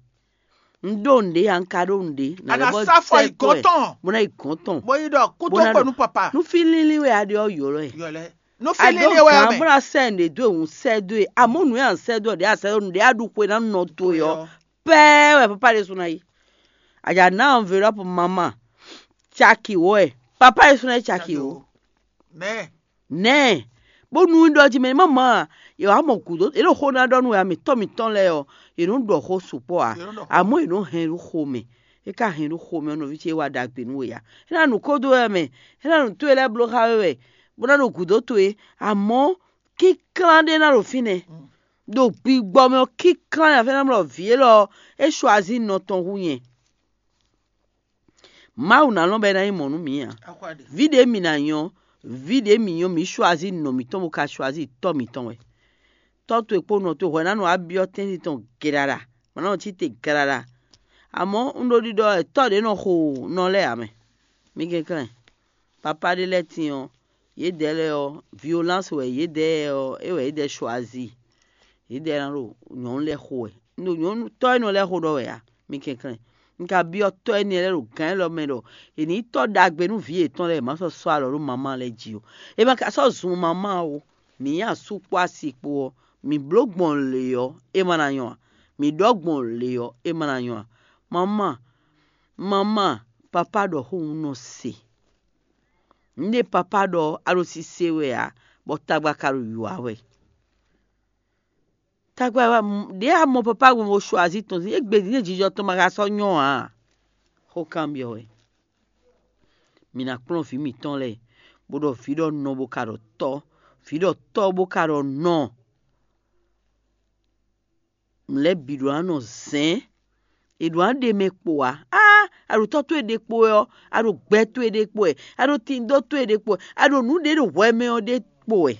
Un ɖó nǔɖé ǎ, un ka ɖó nǔɖé. A nǎ sá fɔ yi gɔ́n tɔn. Bó ná yi gɔ́n tɔn. Bó yi ɖɔ kú tó kpɔ́ nú papa. Nú fí línlín wɛ a ɖe ɔ́ ylɔ́ ɛ. Yɔlɛ. Nú fí línlín wɛ mɛ. Bó ná sɛ nǔɖé dó e, un sɛ dó e. Àmọ́ nǔ e à ń sɛ dó ɔ́, ɖě a sɛ dó nǔɖé a ɖu xwe ná nɔ towe ɔ́. Pɛ́ɛ wɛ papa ɖésú ná yi. A jǎ ná enveloppe mama caki wɔ ɛ. Papa ɖésú ná yi caki wɔ. Nɛ. Nɛ. Bónú un ɖɔ jí mɛ ní mama, yě wá mɔ gǔdo, é ɖo xó ná ɖɔ nú wɛ mǐtɔn mǐtɔn lɛ́ɛ ɔ́, yě nɔ ɖɔ xó sukpɔ́ ǎ. Yě nɔ ɖɔ xó. Àmọ́ yě nɔ hɛn ɖó xo mɛ. É ka hɛn ɖó xo mɛ ɔ́, nɔví ce é wa ɖagbe nú we ǎ. É ná nǔ kó dó wɛ mɛ, é ná nǔ towe lɛ́ɛ bló xá we wɛ, bó ná ɖo gǔdo towe. Àmọ́ kínklán ɖé ná ɖo fínɛ́. Ɖo gbigbɔ mɛ ɔ́, kínklán ná fɛ́n ná mlɔ vǐ élɔ́ ɔ́, é choisí nɔ tɔn hú nyɛ. Mawu ná lɔn bɔ é ná nyí mɔ̌ nú mǐ ǎ. Vǐ ɖě mǐ ná nyɔ́, vǐ ɖě mǐ nyɔ́, mǐ choisí nɔ mǐtɔn bó ka choisí tɔ́ mǐtɔn wɛ. Tɔ́ towe kpó nɔ towe hwɛ ná nɔ wá byɔ́ tɛ́ntin tɔn geɖaɖa, bɔ ná nɔ cí te geɖaɖa. Àmọ́ un ɖo ɖiɖɔ wɛ tɔ́ ɖě nɔ xo nɔ lɛ́ɛ ǎ mɛ. Mi kɛnklɛ́n, papá ɖé lɛ́ɛ tín ɔ́, yědɛɛ lɛ́ɛ ɔ́, violence wɛ yědɛɛ ɔ́, é wɛ yědɛɛ choisí. Yědɛɛ ná ɖo nyɔ̌nu lɛ́ɛ xo wɛ. Un ɖo nyɔ̌nu tɔ́ énɛ́ lɛ́ɛ xo ɖɔ wɛ ǎ. Mi kɛnklɛ́n. Un ka byɔ́ tɔ́ énɛ́ lɛ́ɛ ɖo gǎn élɔ́ mɛ ɖɔ è nǐ tɔ́ ɖagbe nú vǐ yětɔn lɛ́ɛ, è má sɔ́ sɔ́ alɔ ɖó mamá lɛ́ɛ jí ó. È ma ka sɔ́ zun mamá ó. Mǐ nyi asú kpó asi kpó ɔ́, mǐ bló gbɔn lě ɔ́, é ma ná nyɔ́ ǎ. Mǐ ɖɔ gbɔn lě ɔ́, é ma ná nyɔ́ ǎ. Mamá, mamá, papá ɖɔ xó un nɔ se. Nǔɖé papá ɖɔ ɔ́, a ɖo sise wɛ ǎ, bɔ tagba ka ɖo wǐwá wɛ. Tagba wɛ ɖě a mɔ papá gbɔn bó choisí tɔn sín égbé din jijɔ tɔn ma ka sɔ́ nyɔ́ ǎ. Xó kanbyɔ́ wɛ. Mǐ ná kplɔ́n vǐ mǐtɔn lɛ́ɛ, bó ɖɔ vǐ ɖɔ nɔ bó ka ɖɔ tɔ́, vǐ ɖɔ tɔ́ bó ka ɖɔ nɔ. Nǔ lɛ́ɛ bǐ ɖó ná nɔ zɛ̌n. È ɖǒ ná ɖe mɛ kpo ǎ. Á, a ɖo tɔ́ towe ɖe kpo wɛ ɔ́, a ɖo gbɛ towe ɖe kpo wɛ, a ɖo tindo towe ɖe kpo wɛ, a ɖo nǔ ɖě ɖo hwɛ mɛ ɔ́ ɖe kpo wɛ.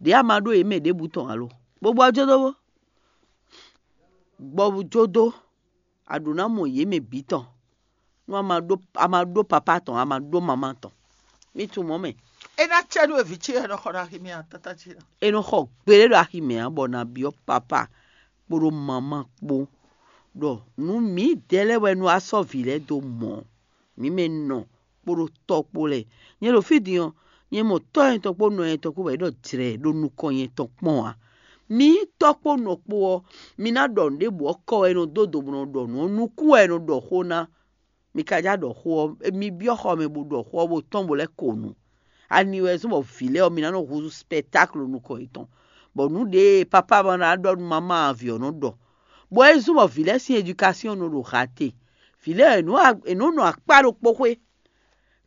Ɖě a ma ɖó yě mɛ ɖěbǔ tɔn alo? Bó gbɔ jó dó bó. Gbɔ jó dó, a ɖǒ ná mɔ yě mɛ bǐ tɔn. Nú a ma ɖó a ma ɖó papá tɔn, a ma ɖó mamá tɔn. Mí tunwun mɔ̌ mɛ. É ná cɛ nú vǐ ce e nɔ xɔ ɖo axi mɛ ǎ, tata ce ná. È nɔ xɔ gbeɖé ɖo axi mɛ ǎ, bɔ nǎ byɔ́ papá kpódó mamá kpó ɖɔ nǔ mǐdɛɛ lɛ́ɛ wɛ nú a sɔ́ vǐ lɛ́ɛ dó mɔ̌. Mǐ mɛ nɔ kpódó tɔ́ kpó lɛ́ɛ. Nyɛ ɖo fí din ɔ́, nyɛ mɔ tɔ́ nyɛtɔn kpó nɔ nyɛtɔn kpó bɔ yě ɖɔ jlɛ̌ ɖo nukɔn nyɛtɔn kpɔ́n ǎ. Mi nyí tɔ́ kpó nɔ kpó ɔ́, mi ná ɖɔ nǔɖěbǔ ɔ́ kɔ wɛ è nɔ dó do bó nɔ ɖɔ nǔ ɔ́, nukún wɛ è nɔ ɖɔ xó ná. Mi ka já ɖɔ xó ɔ́, mi byɔ́ xɔ mɛ bó ɖɔ xó ɔ́ bó tɔ́n bó lɛ́ ko nǔ. Ani wɛ zɔ́n bɔ vǐ lɛ́ɛ ɔ́, mi ná nɔ húzú spectacle nukɔn yětɔn, bɔ nǔ ɖě e papá ma ná ɖɔ nú mamá ɔ́, vǐ ɔ́ nɔ ɖɔ. Bɔ é zɔ́n bɔ vǐ lɛ́ɛ sín éducation nɔ ɖo hate. Vǐ lɛ́ɛ è nǔ a- è nǔ nɔ akpá ɖokpó xwé,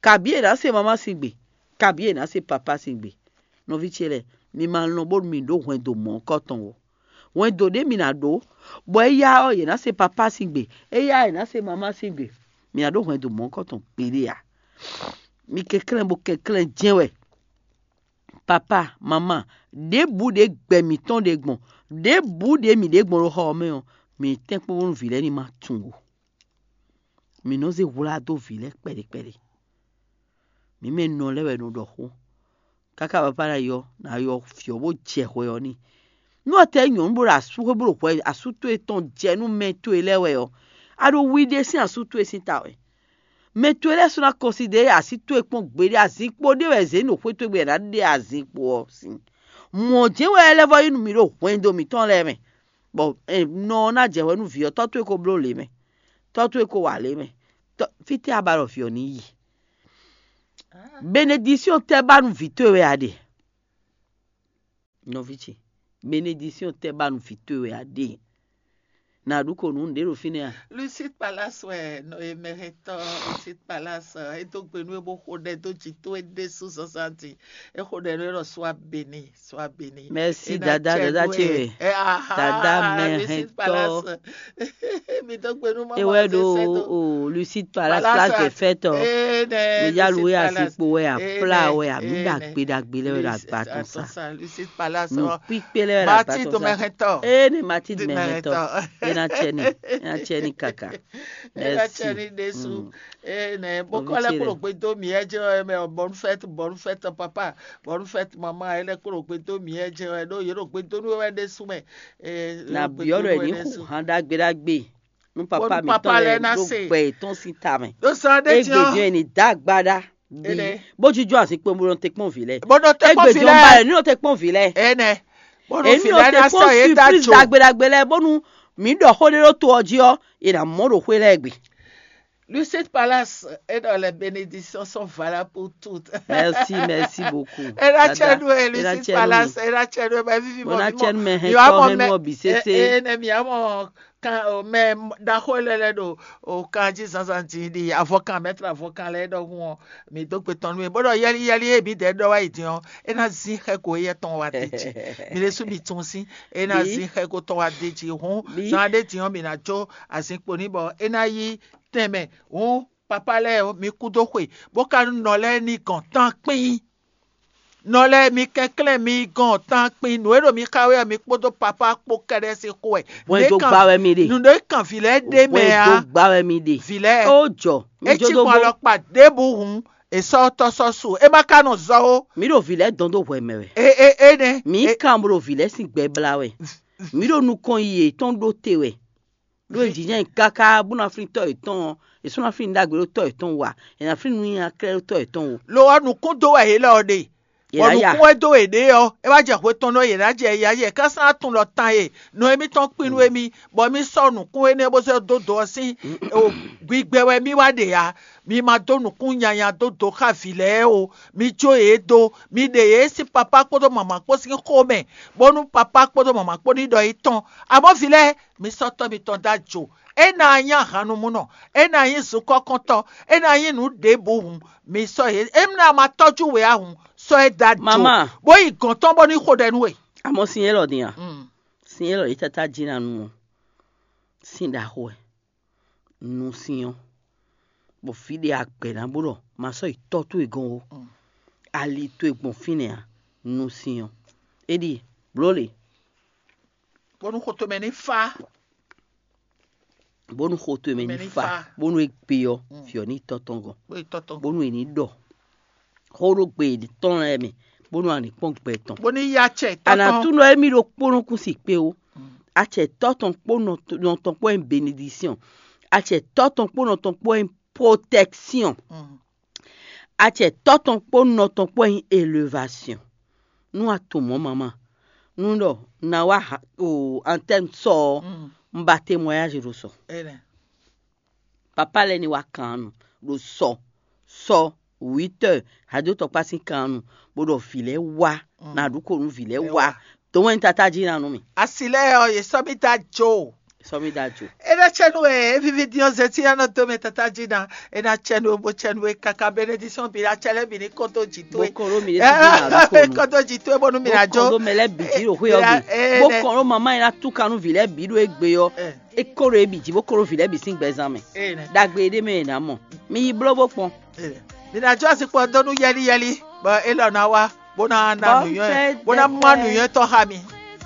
kabǐ è nǎ se mamá sín gbe, kabǐ è nǎ se papá sín gbe. Nɔví ce lɛ́ɛ, mi ma lɔn bónú mi ɖǒ hwɛndo mɔ̌hunkɔtɔn ó. Hwɛndo ɖé mi ná ɖó, bɔ éyá ɔ́, yě ná se papá sín gbe, éyá yě ná se mamá sín gbe. Mi ná ɖó hwɛndo mɔ̌hunkɔtɔn gbeɖé ǎ. Mi kɛnklɛ́n bó kɛnklɛ́n jɛ́n wɛ. Papá, mamá, ɖěbǔ ɖě gbɛ mǐtɔn ɖe gbɔn, ɖěbǔ ɖě mǐ ɖe gbɔn ɖo xɔ ɔ́ mɛ ɔ́, mǐ tɛ́nkpɔ́n bónú vǐ lɛ́ɛ ní ma tunwun ó. Mǐ nɔ zé hwlá dó vǐ lɛ́ɛ kpɛɖé kpɛɖé. Mǐ mɛ nɔ lɛ́ɛ wɛ nɔ ɖɔ xó. Káká papá ná yɔ, ná yɔ fyɔ̌ bó jɛ hwɛ ɔ́ n'i. Nú a tɛ nyɔ̌nu bó ɖo asú xwé bó ɖo hwɛ asú towe tɔn jɛ nú mɛ towe lɛ́ɛ wɛ ɔ́, a ɖo wi ɖé sín asú towe sín ta wɛ. Mɛ towe lɛ́ɛ sɔ́ ná kɔnsidɛ́ así towe kpɔ́n gbeɖé, azinkpo ɖé wɛ zě ɖo xwé towe gbe ná ɖe azinkpo ɔ́ sín. Mɔ̌ jɛ́n wɛ é lɛ́ vɔ nyí nú mì ɖo hwɛndo mǐtɔn lɛ́ɛ mɛ, bɔ nɔ ɔ́ ná jɛ hwɛ nú vǐ ɔ́, tɔ́ towe ko bló lě mɛ, tɔ́ towe ko wa lě mɛ. Fítɛ́ a ba ɖɔ vǐ ɔ́ ní yi? Benedisíɔn tɛ́ ba nú vǐ towe wɛ a ɖe? Nɔví ce, benedisíɔn tɛ́ ba nú vǐ towe wɛ a ɖe? Nǎ ɖu ko nǔ nǔɖé ɖo fínɛ́ a? Lucide Palace wɛ nɔ e mɛhɛntɔ́ Lucide Palace é dó gbe nú é bó xo ɖɛ dó jǐ towe ɖésú zǎnzǎn din. É xo ɖɛ nú é ɖɔ swa beni, swa beni. Mɛsi dada dada ce wɛ. Dada mɛhɛntɔ́. Mi dó gbe nú mama. É wɛ ɖo o Lucide Palace, place de fête ɔ. Mi ya lu é asikpo wɛ, apla wɛ, ami ɖagbe ɖagbe lɛ wɛ ɖo agba tɔn sa. Nǔ kpíkpé lɛ wɛ ɖo agba tɔn sa. Matilde mɛhɛntɔ́. Ee ne Matilde mɛhɛntɔ́. É ná cɛ ni, é ná cɛ ni kaka. Ena Merci. Tiɛ ni ɖésú. Mm. Ene Nɔvi bokɔ lɛ ce kplɔ lɛ. Gbe dó mi ɛ jɛ ɔ mɛ ɔ bonne fête, bonne fête papa, bonne fête maman, ɛ lɛ kplɔ gbe dó mi ɛ jɛ ɔ ɖo yɛ ɖo gbe dó nú wɛ ɖésú mɛ. Na biɔ ɖɔ ní xu hàn ɖagbe ɖagbe. Nú papa mi tɔn lɛ ɖo gbɛ tɔn sín ta mɛ. Ɖo sɔ ɖe tiɛ. Egbe jɔ ni dá agbada. Bi bó jújú àsìkò bó nɔ te kpɔn vǐ lɛ. Bó nɔ te kpɔn vǐ lɛ. Egbe jɔ ba lɛ ní nɔ te kpɔn vǐ lɛ. Ene. Bó nɔ èmi vǐ ò lɛ te ná kpɔn sɔ yé dá surprise jo. Dagbe dagbe lɛ bónú mǐ ɖɔ xó ɖé ɖó to ɔ́ jí ɔ́, è nǎ mɔ ɖo xwé lɛ́ɛ gbe. Lucide Palace, et dans les bénédictions sont valables pour toutes. Merci, merci beaucoup. Ena tiɛ nu e Lucide Palace, ena tiɛ nu e bɛ vivi mɔ. Bona tiɛ nu mɛ hɛn tɔ hɛn nu ɔbí sese. Ene mi amɔ kan o mɛ ɖaxó lɛ lɛ ɖo o kan jí zanzan dín ɖi avɔkan mɛtla avɔkan lɛ ɖɔhun ɔ, mi dó gbe tɔn nú mi bó ɖɔ yɛli yɛli e mi dɛ ɖɔ wá yi dín ɔ, e ná zin xɛ ko eyɛ tɔn wá dé jí. Mi ɖésú mi tún sín, e ná zin xɛ ko tɔn wá dé jí hún. Zan ɖé dín ɔ mi ná jó azinkpo ní bɔ e ná yí tɛnmɛ hún. Papa lɛ́ɛ ɔ, mi kú dó xwe bó ka nú nɔ lɛ́ɛ ní gɔn tán kpín. Nɔ lɛ́ɛ mi kɛnklɛ́n mi gɔn tán kpin nǔ e ɖo mi xa wɛ ɔ́, mi kpódó papá kpó kɛ́ɖɛ́ sín xó wɛ. Bɔn e dó gbá wɛ mi ɖe. Nǔ ɖé kan vǐ lɛ́ɛ ɖe mɛ ǎ. Bɔn e dó gbá wɛ mi ɖe. Vǐ lɛ́ɛ. Ó jɔ. É cí gbɔn alɔkpa ɖěbǔ hǔn, è sɔ́ tɔ́ sɔ́ su. É má ka nɔ zɔ ó. Mi ɖo vǐ lɛ́ɛ dɔn dó hwɛ mɛ wɛ. E e e nɛ. Mi kan bó ɖo vǐ lɛ́ɛ sín gbɛ blá wɛ. Mi ɖo nukɔn yi yětɔn ɖó te wɛ. Ɖó è jǐjɛ́n káká bó ná flín tɔ́ yětɔn ɔ́, è sɔ́ ná flín ɖagbe ɖó tɔ́ yětɔn wú ǎ, è nǎ flín nǔnyinya klɛ́ ɖó tɔ́ yětɔn wú. Lo ɔ́, nǔkún dó wɛ yě lɛ ɔ́ ɖe. Bɔ nǔkún e dó yě ɖe ɔ́, é wá jɛ hwe tɔn nɔ yě ná jɛ ya yɛ kánsá tunwun ɖɔ tan e nɔ émítɔn kpin nú émí, bɔ émí sɔ́ nǔkún énɛ́ bó zɔ́ dó dǒ ɔ́ sín gbigbɛ wɛ mì wá ɖe ǎ. Mi ma dó nǔkún nyanya dó dǒ xá vǐ lɛ́ɛ ó. Mi jó yě dó, mi ɖe yě sín papá kpódó mama kpó sín xó mɛ, bónú papá kpódó mama kpó ní ɖɔ yi tɔn. Amɔ̌ vǐ lɛ́ɛ, mi sɔ́ tɔ́ mitɔn dó ajo. É ná nyí ahannumúnɔ, é ná nyí zunkɔ́kɔ́ntɔ́, é ná nyí nǔ ɖěbǔ hǔn, mi sɔ́ yě. É ná ma tɔ́jú we ǎ hǔn, sɔ́ ɛ dó ajo. Mama. Bó yi gɔ̌n tɔn bó ní xo ɖɛ nú we. Amɔ̌ sin élɔ́ din a? Mm. Sin élɔ́ yě tata jí ná nu ɔ́, sin ɖaxó wɛ. Nu sin ɔ́, bɔ fí ɖé agbɛ̌ ná bó ɖɔ ma sɔ́ yi tɔ́ towe gɔ́n ó. Mm. Ali towe gbɔn fínɛ́ ǎ. Nu sin ɔ́, é ɖíe blǒ lě. Bónú xo tomɛ ní fá. Bónú xo tomɛ ní fá. Bónú é gbe ɔ́, mm, fiɔ ní tɔ́ tɔn gɔ́n. Bónú é ní ɖɔ xó ɖó gbe tɔn lɛ́ɛ mɛ, bónú a ní kpɔ́n gbɛ tɔn. Bó ní yá acɛ tɔ́ tɔn. Anatúnɔ émí ɖokpónɔ kún si kpé ó. Mm. Acɛ tɔ́ tɔn kpó nɔ tɔn kpó nyí benedisyɔn. Acɛ tɔ́ tɔn kpó nɔ tɔn kpó nyí protection. Mm. Acɛ tɔ́ tɔn kpó nɔ tɔn kpó nyí élevation. Nú a tunwun mɔ̌ mama, nú ɖɔ na wá ha- o antenne sɔ ɔ́, mm, un ba témoignage ɖo sɔ. Papa lɛ́ɛ ní wá kan nɔ ɖo sɔ sɔ huit heures, hado tɔkpá sín kan nɔ, bó ɖɔ vǐ lɛ́ɛ wá, mm, na ɖu ko nú vǐ lɛ́ɛ wá. Dǒ wɛn tata jí ná nú mì. Asi lɛ́ɛ ɔ́, yě sɔ́ mì dó ajo. Sɔ́ mì dó ajo. É ná cɛ nú we, é víví dín ɔ́, zɛtí ná nɔ dó mɛ tata jí ná. É ná cɛ nú we, bó cɛ nú we káká, bénédiction bǐ ná cɛ lɛ́ bǐ ní kɔn dó jǐ towe. Bó kɔn ɖó mi ɖésú jí ná ɖu ko nú. Kɔn dó jǐ towe bónú mi ná jó. Bó kɔn ɖó mɛ lɛ́ɛ bǐ jí ɖo xwé ɔ́ gbe. Bó kɔn ɖó mama e ná túkan nú vǐ lɛ́ɛ bǐ ɖo égbé ɔ́. É kó ɖo é bǐ jí, bó kó ɖo vǐ lɛ́ɛ bǐ sín gbɛzán mɛ. Ɖagbe e ɖ'é mɛ è nǎ mɔ. Mi yi bló bó kpɔn. Mi ná jó azinkpo ɔ́ dó nú yɛ́líyɛ́lí, bɔ élɔ́ ná wá, bó ná ná nǔnywɛ́, bó ná má nǔnywɛ́tɔ́ xá mi.